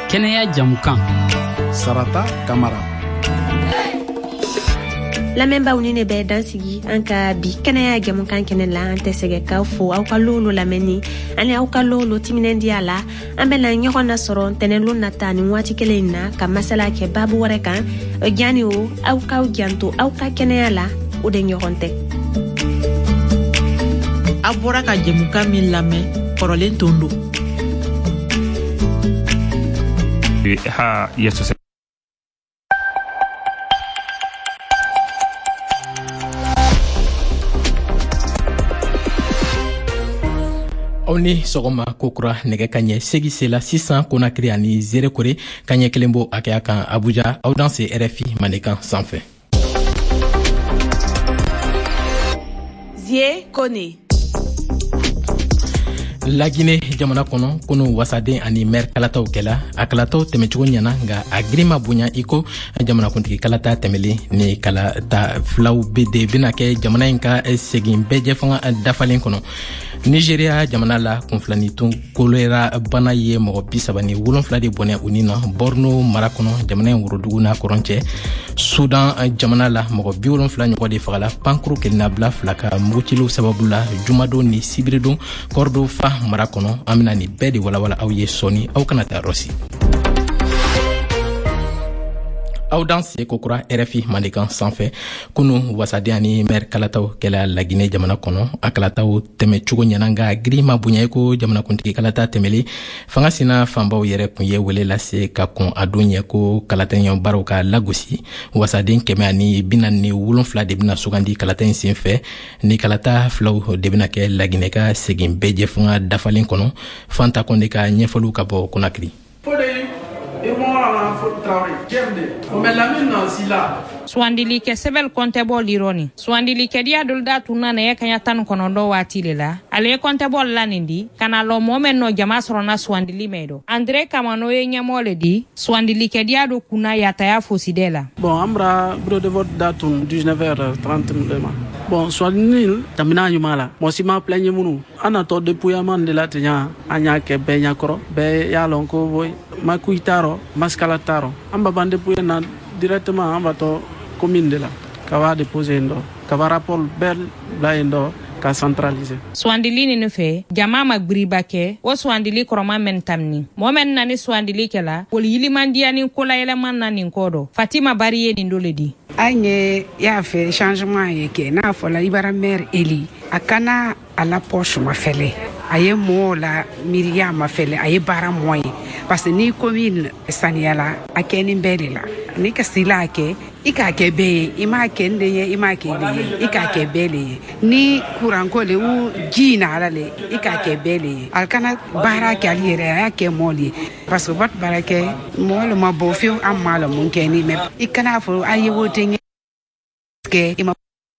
Kɛnɛya jamukan. Sarata Kamara. Lamɛnbaaw, ni ne bɛ dan sigi an ka bi kɛnɛya jamukan kɛnɛ la. An tɛ sɛgɛ k'aw fo aw ka lolo lamɛnni ani aw ka lolo timinandiya la. An bɛna ɲɔgɔn nasɔrɔ ntɛnɛlon nata ni waati kelen in na ka masala kɛ babu wɛrɛ kan. Jani o, aw k'aw janto aw ka kɛnɛya la, o de ɲɔgɔn tɛ. Aw bɔra ka jɛmukan min lamɛn, kɔrɔlen tun don. Ha Jesus. Aw ni sɔgɔma kokura. Nɛgɛ ka ɲɛ 8 sela sisan Konakiri ani Zerekore, ka ɲɛ 1 bo hakɛya kan Abuja. Aw danse RFI Mandenkan sanfɛ. Zie Kone. Lagine jamana kɔnɔ, kunu wasaden ani mɛri kalataw kɛla. A kalataw tɛmɛcogo ɲana, nga a girin ma bonya i ko jamanakuntigi kalata tɛmɛlen. Ni kalata filaw be de bena kɛ jamana in ka segin bɛɛjɛfanga dafalen kɔnɔ. Nigeria jamana la, kunfilanitun kolera bana ye mɔgɔ 37 de bɔnɛ u ni na Borno mara kɔnɔ, jamana in worodugu n'a kɔrɔn cɛ. Sudan jamana la, mɔgɔ 70 ɲɔgɔn de fagala pankuru kelennabila fila ka muguciliw sababu la jumadon ni sibiridon Kɔrɔdofa mara kɔnɔ. An bena nin bɛɛ de walawala aw ye sɔɔni, aw kana taa rɔsi. Aw danse kokura RFI Mandenkan sanfɛ. Kunu wasaden ani mɛri kalataw kɛla Lagine jamana kɔnɔ. A kalataw tɛmɛcogo ɲɛna, nga giri ma bonya i ko jamanakuntigi kalata tɛmɛlen. Fanga sina fanbaw yɛrɛ kun ye wele lase ka kɔn a don ɲɛ ko kalataɲɔ baaraw ka lagosi. Wasaden 147 de bena sugandi kalata in sen fɛ. Ni kalata filaw de bena kɛ Laginɛ ka segin bɛɛjɛ fanga dafalen kɔnɔ. Fanta Kɔnde ka ɲɛfɔliw ka bɔ Konakiri. Suwandili kɛ sɛbɛl kɔntɛbɔ lirɔni suwandili kɛdiya dolu da tun na nɛgɛ kaɲa 19 waati le la. Ale ye kɔntɛbɔ la nin di ka na lɔ mɔɔ mɛn nɔ jama sɔrɔna suwandili mɛn dɔ. Andre Kamano ye ɲɛmɔgɔ le di suwandili kɛdiya do kunna yataya fosidɛ la. Bon, an bara bureau de vote datun 19h30 ma. Bon, suwandili tamina ɲuman la, mɔgɔ si ma plainte minnu. An natɔ dépouillement de la ten, an y'a kɛ bɛɛ ɲɛkɔrɔ, bɛɛ y'a lɔn ko makuyi t'a rɔ, masikala t'a rɔ. An ba ban dépouiller na directement, an ba tɔ commune de la ka b'a déposer yen dɔ, ka ba rapport bɛɛ bila yen dɔ ka centraliser. Suwandili ninu fɛ, jama ma gbiriba kɛ o suwandili kɔrɔma mɛn tamini. Mɔɔ mɛn na ni suwandili kɛla woli yilimandiya ni kolayɛlɛman na nin kɔ dɔ. Fatima Bari ye nin do le di. An ye y'a fɛ changement ye kɛ n'a fɔla i bara maire éli, a kana a la poche mafɛlɛ, a ye mɔɔw la miiriya mafɛlɛ, a ye baara mɔ ye, parce que ni commune saniyala, a kɛni bɛɛ de la. Ni ka sila a kɛ, i k'a kɛ bɛɛ ye. I m'a kɛ n de ye, i m'a kɛ de ye, i k'a kɛ bɛɛ le ye. Ni kuranko le u ji nara le, i k'a kɛ bɛɛ le ye. Ali kana baara kɛ ali yɛrɛ, a y'a kɛ mɔɔ le ye, parce que vote baara kɛ mɔɔ le ma bɔ fiyewu. An m'a la mun kɛ ni mais i kana fɔ a ye wote kɛ, i ma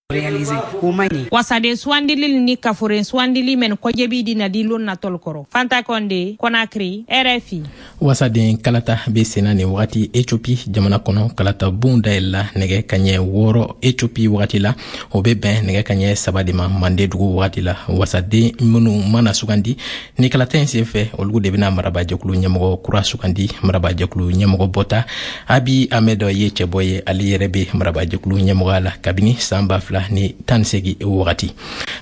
réaliser, o ma ɲi. Wasaden suwandili ni kaforen suwandili mɛn kɔjɛbi di na di lon natɔl kɔrɔ. Fanta Kɔnde, Konakri, RFI. Wasaden kalata be senna nin wagati Ethiopie jamana kɔnɔ. Kalata bon dayɛlɛla nɛgɛ kaɲɛ 6 Ethiopie wagati la, o be bɛn nɛgɛ kaɲɛ 3 de ma Mande dugu wagati la. Wasaden minnu mana sugandi ni kalata in sen fɛ, olu de bena marabajɛkulu ɲɛmɔgɔ kura sugandi. Marabajɛkulu ɲɛmɔgɔ bɔta Abi Ahmed ye cɛbɔ ye. Ale yɛrɛ be marabajɛkulu ɲɛmɔgɔya la kabini san 2018 wagati.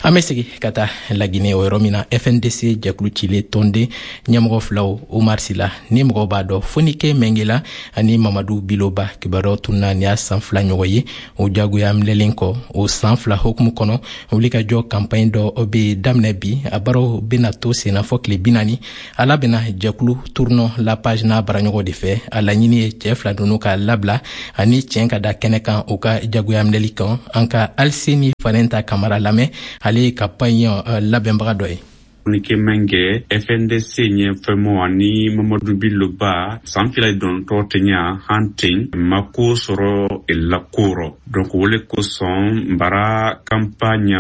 An bɛ segi ka taa Lagine, o yɔrɔ min na FNDC jɛkulu cilen tɔnden ɲɛmɔgɔ filaw, Umar Sila ni mɔgɔw b'a dɔn Fonike Mɛngela ani Mamadu Biloba, kibaruyaw tununa nin y'a san 2 ɲɔgɔn ye o jagoya minɛlen kɔ. O san 2 hukumu kɔnɔ, wulikajɔ kanpaɲi dɔ bɛ daminɛ bi. A baaraw bɛna to senna fɔ tile 40. A labɛnna jɛkulu Tournons la page n'a baaraɲɔgɔn de fɛ. A laɲini ye cɛɛ fila ninnu ka labila ani tiɲɛ ka da kɛnɛ kan u ka jagoya minɛli kan. An ka Aliseni Fanɛnta Kamara lamɛn, ale ye kanpaɲi labɛnbaga dɔ ye. Communiqué mɛn kɛ FNDC ɲɛfɛmɔ ani Mamadu Billo Ba san fila dɔntɔ tɛɲa han ten ma ko sɔrɔ la ko rɔ. Donc o le kosɔn bara campagne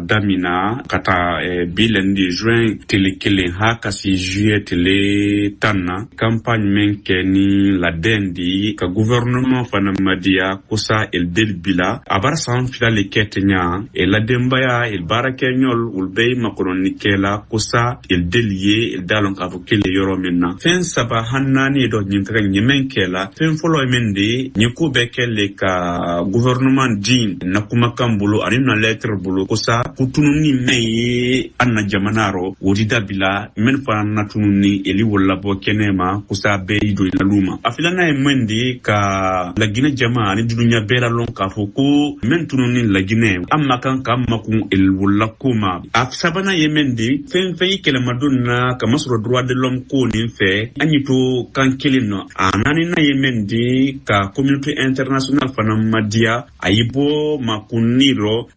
damina ka taa bi lundi juin tele 1 ha ka si juillet tele 10 na. Campagne mɛn kɛ ni ladɛn di ka gouvernement fana madiya kosa el del bila a bara san fila le kɛ tɛɲa e la denbaya el baarakɛɲɔl olu bɛɛ ye makɔnɔni kɛla kosa el del ye el da lɔn k'a fɔ kele yɔrɔ min na. Fɛn saba han naani dɔ ɲin ka ɲɛmɛn kɛla. Fɛn fɔlɔ ye min de ɲin ko bɛɛ kɛ le ka gouvernement di na kumakan bolo ani na lettre bolo kosa kutununi mɛn ye an na jamana rɔ o di dabila mɛn fana na tununi eli wolo labɔ kɛnɛ ma kosa bɛɛ y'i don lalu ma. A filanan ye mɛn de ka Laginɛ jama ani dunuya bɛɛ lalɔn k'a fɔ ko mɛn tununi Laginɛ an ma kan k'an makun el wolola ko ma. A sabanan ye mɛn de fɛn fɛn ye kɛlɛmadon na kamasɔrɔ droit de l'homme ko nin fɛ an y'i to kan kelen nɔ. A naaninan ye mɛn de ka communauté internationale fana madiya a y'i bɔ makunni rɔ.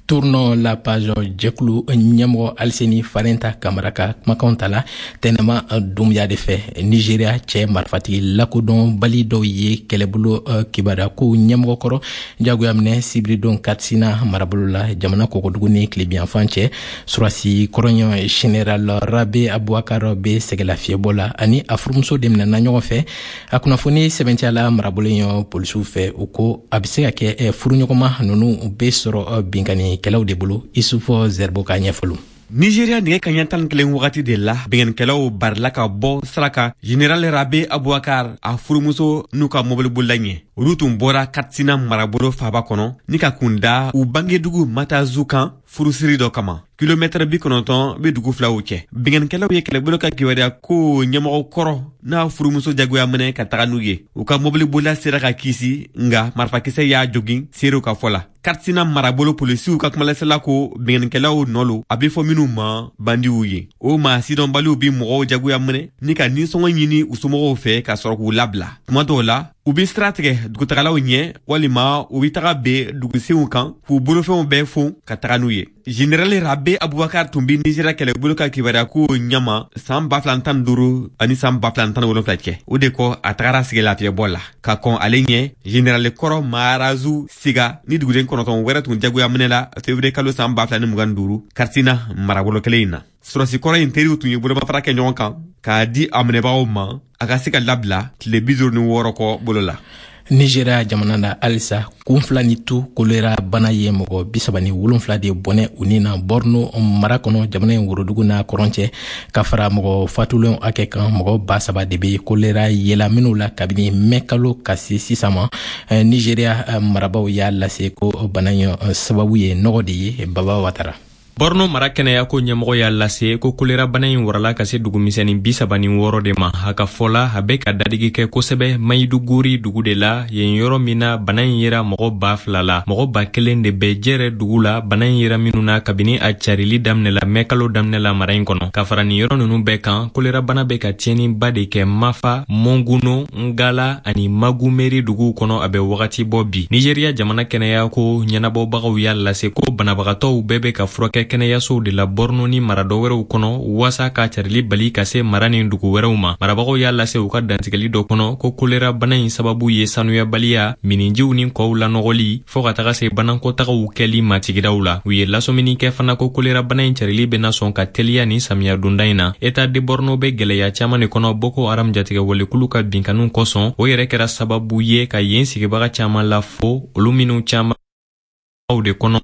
Tournons la page jɛkulu ɲɛmɔgɔ Aliseni Farenta Kamara ka kumakanw ta la Tɛnɛma Dunbuya de fɛ. Nigeria cɛ marifatigi lakodɔnbali dɔw ye kɛlɛbolo kibaruya ko ɲɛmɔgɔ kɔrɔ jagoya minɛ sibiridon Katsina marabolo la jamana kɔkɔdugu ni tilebiyanfan cɛ. Surasi kɔrɔɲɔ Général Rabe Abubakar bɛ sɛgɛlafiyɛbɔ la ani a furumuso de minɛna ɲɔgɔn fɛ. A kunnafoni sɛbɛntiyala marabolo in polisiw fɛ, u ko a bɛ se ka kɛ furuɲɔgɔnma ninnu bɛ sɔrɔ binkanni kɛlaw de bolo. Isufɔ Zɛribo ka ɲɛfɔliw. Nigeria nɛgɛ kaɲɛ 11 wagati de la binkannikɛlaw barila ka bɔ sira kan Général Rabe Abubakar a furumuso n'u ka mobilibolila ɲɛ. Olu tun bɔra Katsina marabolo faaba kɔnɔ ni ka kun da u bangedugu Matazu kan furusiri dɔ kama. Kilomɛtɛrɛ 90 bɛ dugu filaw cɛ. Binkannikɛlaw ye kɛlɛbolo ka kibaruya ko ɲɛmɔgɔ kɔrɔ n'a furumuso jagoya minɛ ka taga n'u ye. U ka mobilibolila sera ka kisi, nka marifakisɛ y'a jogin seerew ka fɔ la. Katsina marabolo polisiw ka kumalasela ko binkannikɛlaw nɔ lo a bɛ fɔ minnu ma bandiw ye. O maa sidɔnbaliw bi mɔgɔw jagoya minɛ ni ka nisɔngɔ ɲini u somɔgɔw fɛ ka sɔrɔ k'u labila. Tuma dɔw la u bɛ sira tigɛ dugutagalaw ɲɛ walima u bɛ taga ben dugusenw kan k'u bolofɛnw bɛɛ fon ka taga n'u ye. Général Rabe Abubakar tun bɛ Nigeria kɛlɛbolo ka kibaruya ko ɲɛma san 2015 ani san 2017 cɛ. O de kɔ a tagara sigi lafiyɛbɔ la ka kɔn ale ɲɛ. Général kɔrɔ Maharazu Siga ni duguden 9 wɛrɛ tun jagoya minɛ la février kalo san 2025 Katsina marabolo kelen in na. Sɔrɔsi kɔrɔ in teriw tun ye bolomafara kɛ ɲɔgɔn kan k'a di a minɛbagaw ma a ka se ka labila tile 56 kɔ bolo la. Nigeria jamana na halisa, kun fila ni tu kolera bana ye mɔgɔ 37 de bɔnɛ u ni na Borno mara kɔnɔ jamana in worodugu n'a kɔrɔn cɛ. Ka fara mɔgɔ fatulenw hakɛ kan, mɔgɔ 3000 de bɛ kolera yela minnu la kabini mɛ kalo ka se sisan ma. Nigeria marabaw y'a lase ko bana in sababu ye nɔgɔ de ye. Baba Watara. Borno mara kɛnɛyako ɲɛmɔgɔ y'a lase ko kolera bana in warala ka se dugumisɛnnin 36 de ma. A ka fɔ la a bɛ ka dadigi kɛ kosɛbɛ Maiduguri dugu de la, yen yɔrɔ min na bana in yera mɔgɔ 2000 la. Mɔgɔ 1000 de bɛ jɛrɛ dugu la bana in yera minnu na kabini a carili daminɛ la mɛ kalo daminɛ la mara in kɔnɔ. Ka fara nin yɔrɔ ninnu bɛɛ kan, kolera bana bɛ ka tiɲɛniba de kɛ Mafa, Monguno, Ngala ani Magumeri duguw kɔnɔ a bɛ wagati bɔ bi. Nigeria jamana kɛnɛyako ɲɛnabɔbagaw y'a lase ko banabagatɔw bɛɛ bɛ ka furakɛ kɛnɛyasow de la Borno ni mara dɔ wɛrɛw kɔnɔ waasa ka carili bali ka se mara ni dugu wɛrɛw ma. Marabagaw y'a lase u ka dantigɛli dɔ kɔnɔ ko kolera bana in sababu ye sanuyabaliya, minijiw ni kɔw lanɔgɔli fɔɔ ka taga se banankɔtagaw kɛli ma sigidaw la. U ye lasɔmini kɛ fana ko kolera bana in carili bɛna sɔn ka teliya ni samiya donda in na. État de Borno bɛ gɛlɛya caman de kɔnɔ Boko Haram jatigɛwalekulu ka binkanniw kosɔn. O yɛrɛ kɛra sababu ye ka yen sigibaga caman lafo, olu minnu caman de kɔnɔ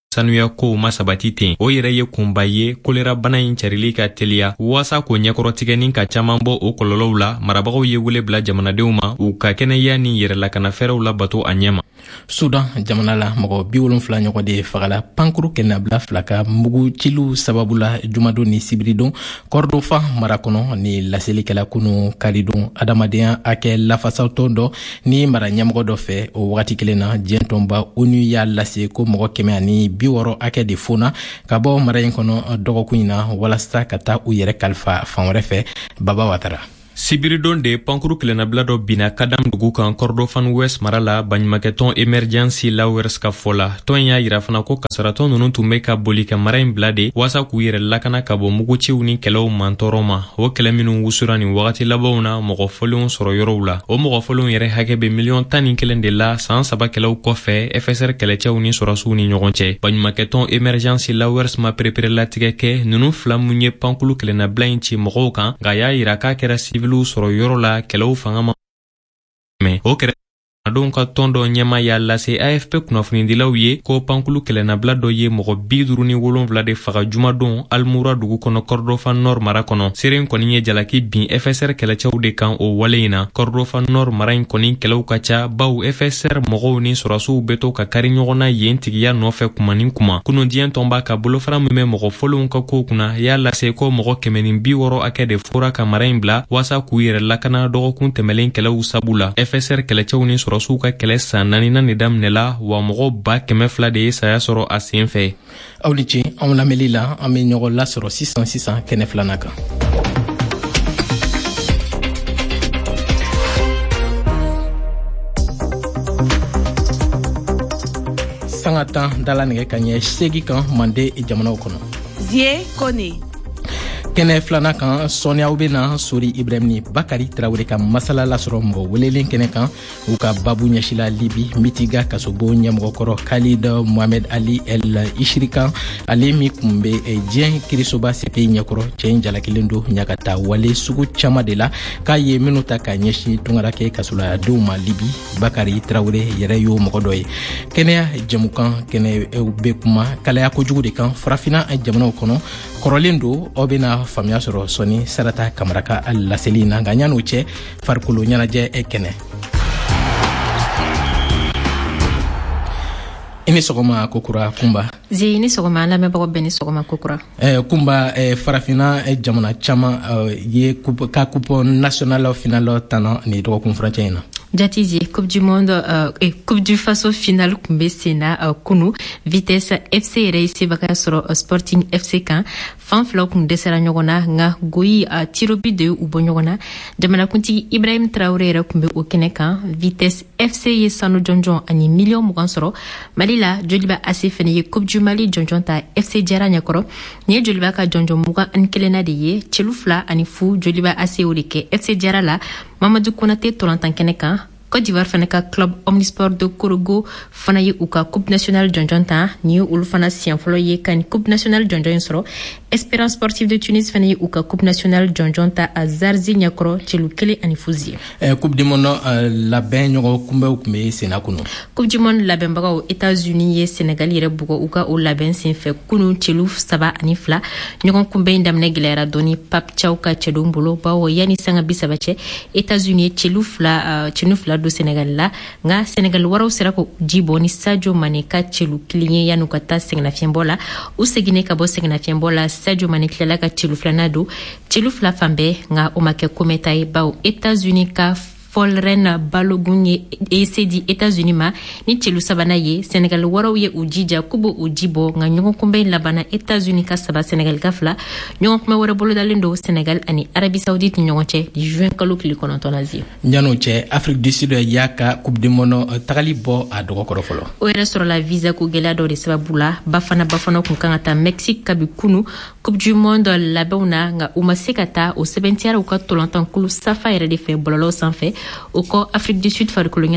sanuya kow ma sabati ten. O yɛrɛ ye kunba ye kolera bana in carili ka teliya. Waasa k'o ɲɛkɔrɔtigɛ ni ka caman bɔ o kɔlɔlɔw la, marabagaw ye wele bila jamanadenw ma u ka kɛnɛya ni yɛrɛlakanafɛɛrɛw labato a ɲɛ ma. Sudan jamana la, mɔgɔ 70 ɲɔgɔn de fagala pankuru kɛnɛnabila fila ka mugu ciliw sababu la jumadon ni sibiridon Kɔrɔdofan mara kɔnɔ. Ni laselikɛla kunu karidon adamadenya hakɛ lafasatɔn dɔ ni mara ɲɛmɔgɔ dɔ fɛ. O wagati kelen na, diɲɛ tɔnba ONU y'a lase ko mɔgɔ 160 hakɛ de fona ka bɔ mara in kɔnɔ dɔgɔkun in na walasa ka taa u yɛrɛ kalifa fan wɛrɛ fɛ. Baba Watara. Sibiridon de pankuru kelennabila dɔ binna Kadam dugu kan Kordofan West mara la, baɲumakɛtɔn Emergency Lawers ka fɔ la. Tɔn in y'a yira fana ko kasaratɔ ninnu tun bɛ ka boli ka mara in bila de waasa k'u yɛrɛ lakana ka bɔ muguciw ni kɛlɛw mantɔɔrɔ ma. O kɛlɛ minnu wusura nin wagati labanw na mɔgɔ fɔlenw sɔrɔ yɔrɔw la, o mɔgɔ fɔlenw yɛrɛ hakɛ bɛ miliyɔn 11 de la, saan 3 kɛlɛw kɔfɛ FSR kɛlɛcɛw ni sɔrɔsiw ni ɲɔgɔn cɛ. Baɲumakɛtɔn Emergency Lawers ma pereperelatigɛ kɛ ninnu fila mun ye pankulu kelennabila in ci mɔgɔw kan, nka y'a yira k'a kɛra siviliw sɔrɔ yɔrɔ la kɛlɛw fanga ma mɛn. O kɛrɛdenw ka tɔn dɔ ɲɛma y'a lase AFP kunnafonidilaw ye ko pankulu kɛlɛnabila dɔ ye mɔgɔ 57 de faga jumadon Almura dugu kɔnɔ, Kɔrdofan Nord mara kɔnɔ. Seere kɔni ye jalaki bin FSR kɛlɛcɛw de kan o wale in na. Kɔrdofan Nord mara in kɔni kɛlɛw ka ca, baw FSR mɔgɔw ni sɔrɔsiw bɛ to ka kari ɲɔgɔn na yen tigiya nɔfɛ kuma ni kuma. Kunu, diɲɛ tɔnba ka bolofara min bɛ mɔgɔ fɔlenw ka kow kunna y'a lase ko mɔgɔ 160 hakɛ de fora ka mara in bila waasa k'u yɛrɛ lakana dɔgɔkun tɛmɛlen kɛlɛw sabu la. FSR kɛlɛcɛw ni sɔrɔsiw ka kɛlɛ san naaninan de daminɛla wa, mɔgɔ 200,000 de ye saya sɔrɔ a sen fɛ. Aw ni ce anw lamɛnli la. An bɛ ɲɔgɔn lasɔrɔ sisan sisan kɛnɛ filanan kan. Sanga 10 dala nɛgɛ ka ɲɛ 8 kan Mande jamanaw kɔnɔ. Zie Kone. Kɛnɛ filanan kan, sɔɔni aw bena Sori Ibrahim ni Bakari Tarawele ka masala lasɔrɔ mɔgɔ welelen kɛnɛ kan. U ka babu ɲɛsila Libi Mitiga kasobo ɲɛmɔgɔkɔrɔ Khalid Mohamed Ali El Ishiri kan, ale min kun be diɲɛ kirisoba CPI ɲɛkɔrɔ. Cɛ in jalakilen don ɲagata wale sugu caaman de la k'a ye minnu ta ka ɲɛsin tungarakɛ kasoladenw ma Libi. Bakari Tarawele yɛrɛ y'o mɔgɔ dɔ ye. Kɛnɛya jɛmukan kɛnɛ bɛ kuma kalaya kojugu de kan Farafina jamanaw kɔnɔ. Kɔrɔlen don, aw bena faamuya sɔrɔ sɔni Sarata Kamara ka laseli na. Nka ɲan'o cɛ, farikolo ɲɛnajɛ kɛnɛ. I ni sɔgɔma kokura, Kunba. Zi, ni sɔgɔma. An lamɛnbagaw bɛɛ ni sɔgɔma kokura. Kunba, Farafina jamana caman ye ka coupe nationale finale tana ni dɔgɔkun furancɛ in na. Jati Zi, Coupe du Monde, Coupe du Faso finale kun bɛ sen na kunu. Vitesse FC yɛrɛ ye sebagaya sɔrɔ Sporting FC kan. Fan filaw kun dɛsɛra ɲɔgɔn na, nka goyi tirs au but de ye u bɔ ɲɔgɔn na. Jamanakuntigi Ibrahim Traoré yɛrɛ kun bɛ o kɛnɛ kan. Vitesse FC ye sanu jɔnjɔn ani miliyɔn 20 sɔrɔ. Mali la, Joliba AC fɛnɛ ye Coupe du Mali jɔnjɔn ta FC Jara ɲɛkɔrɔ. Nin ye Joliba ka jɔnjɔn 21nan de ye. Celu 2-0, Joliba AC o de kɛ FC Jara la Mamadu Konate tolantan kɛnɛ kan. Côte d'Ivoire fana ka club Omnisport de Korogo fana ye u ka coupe nationale jɔnjɔn ta. Nin ye olu fana siɲɛ fɔlɔ ye ka nin coupe nationale jɔnjɔn in sɔrɔ. Espérance Sportive de Tunis fana ye u ka coupe nationale jɔnjɔn ta a Zarzi ɲɛkɔrɔ, celu 1-0 ye. Coupe du monde labɛn ɲɔgɔn kunbɛnw tun bɛ senna kunu. Coupe du monde labɛnbagaw États-Unis ye Sénégal yɛrɛ bugɔ u ka o labɛn senfɛ kunu, celu 3-2. Ɲɔgɔn kunbɛn in daminɛ gɛlɛyara dɔɔni Pape Thiaw ka cɛdenw bolo, bawo yanni sanga 30 cɛ, États-Unis ye celu 2 don Sénégal la. Nka Sénégal waraw sera k'o ji bɔ ni Sadio Mané ka celu 1 ye yan'u ka taa sɛgɛnnafiɲɛbɔ la. U seginnen ka bɔ sɛgɛnnafiɲɛbɔ la, Sadio Mané tilala ka celu filanan don, celu 2 fan bɛɛ. Nka o ma kɛ komɛta ye, bawo États-Unis ka Folarin Balogun ye ese di États-Unis ma ni celu sabanan ye. Sénégal waraw ye u jija k'u b'o ji bɔ, nka ɲɔgɔn kunbɛn labanna États-Unis ka 3, Sénégal ka 2. Ɲɔgɔn kunbɛn wɛrɛ bolodalen don Sénégal ani Arabie Saoudite ni ɲɔgɔn cɛ juin kalo tile 9 na. Zi. Yan'o cɛ, Afrique du Sud y'a ka coupe du monde tagali bɔ a dɔgɔkɔrɔ fɔlɔ. O yɛrɛ sɔrɔla visa ko gɛlɛya dɔ de sababu la. Bafana Bafana kun kan ka taa Mexique kabi kunu Coupe du monde labɛnw na, nka u ma se ka taa. O sɛbɛntiyara u ka tolantankulu SAFA yɛrɛ de fɛ bɔlɔlɔw sanfɛ. O kɔ, Afrique du Sud farikolo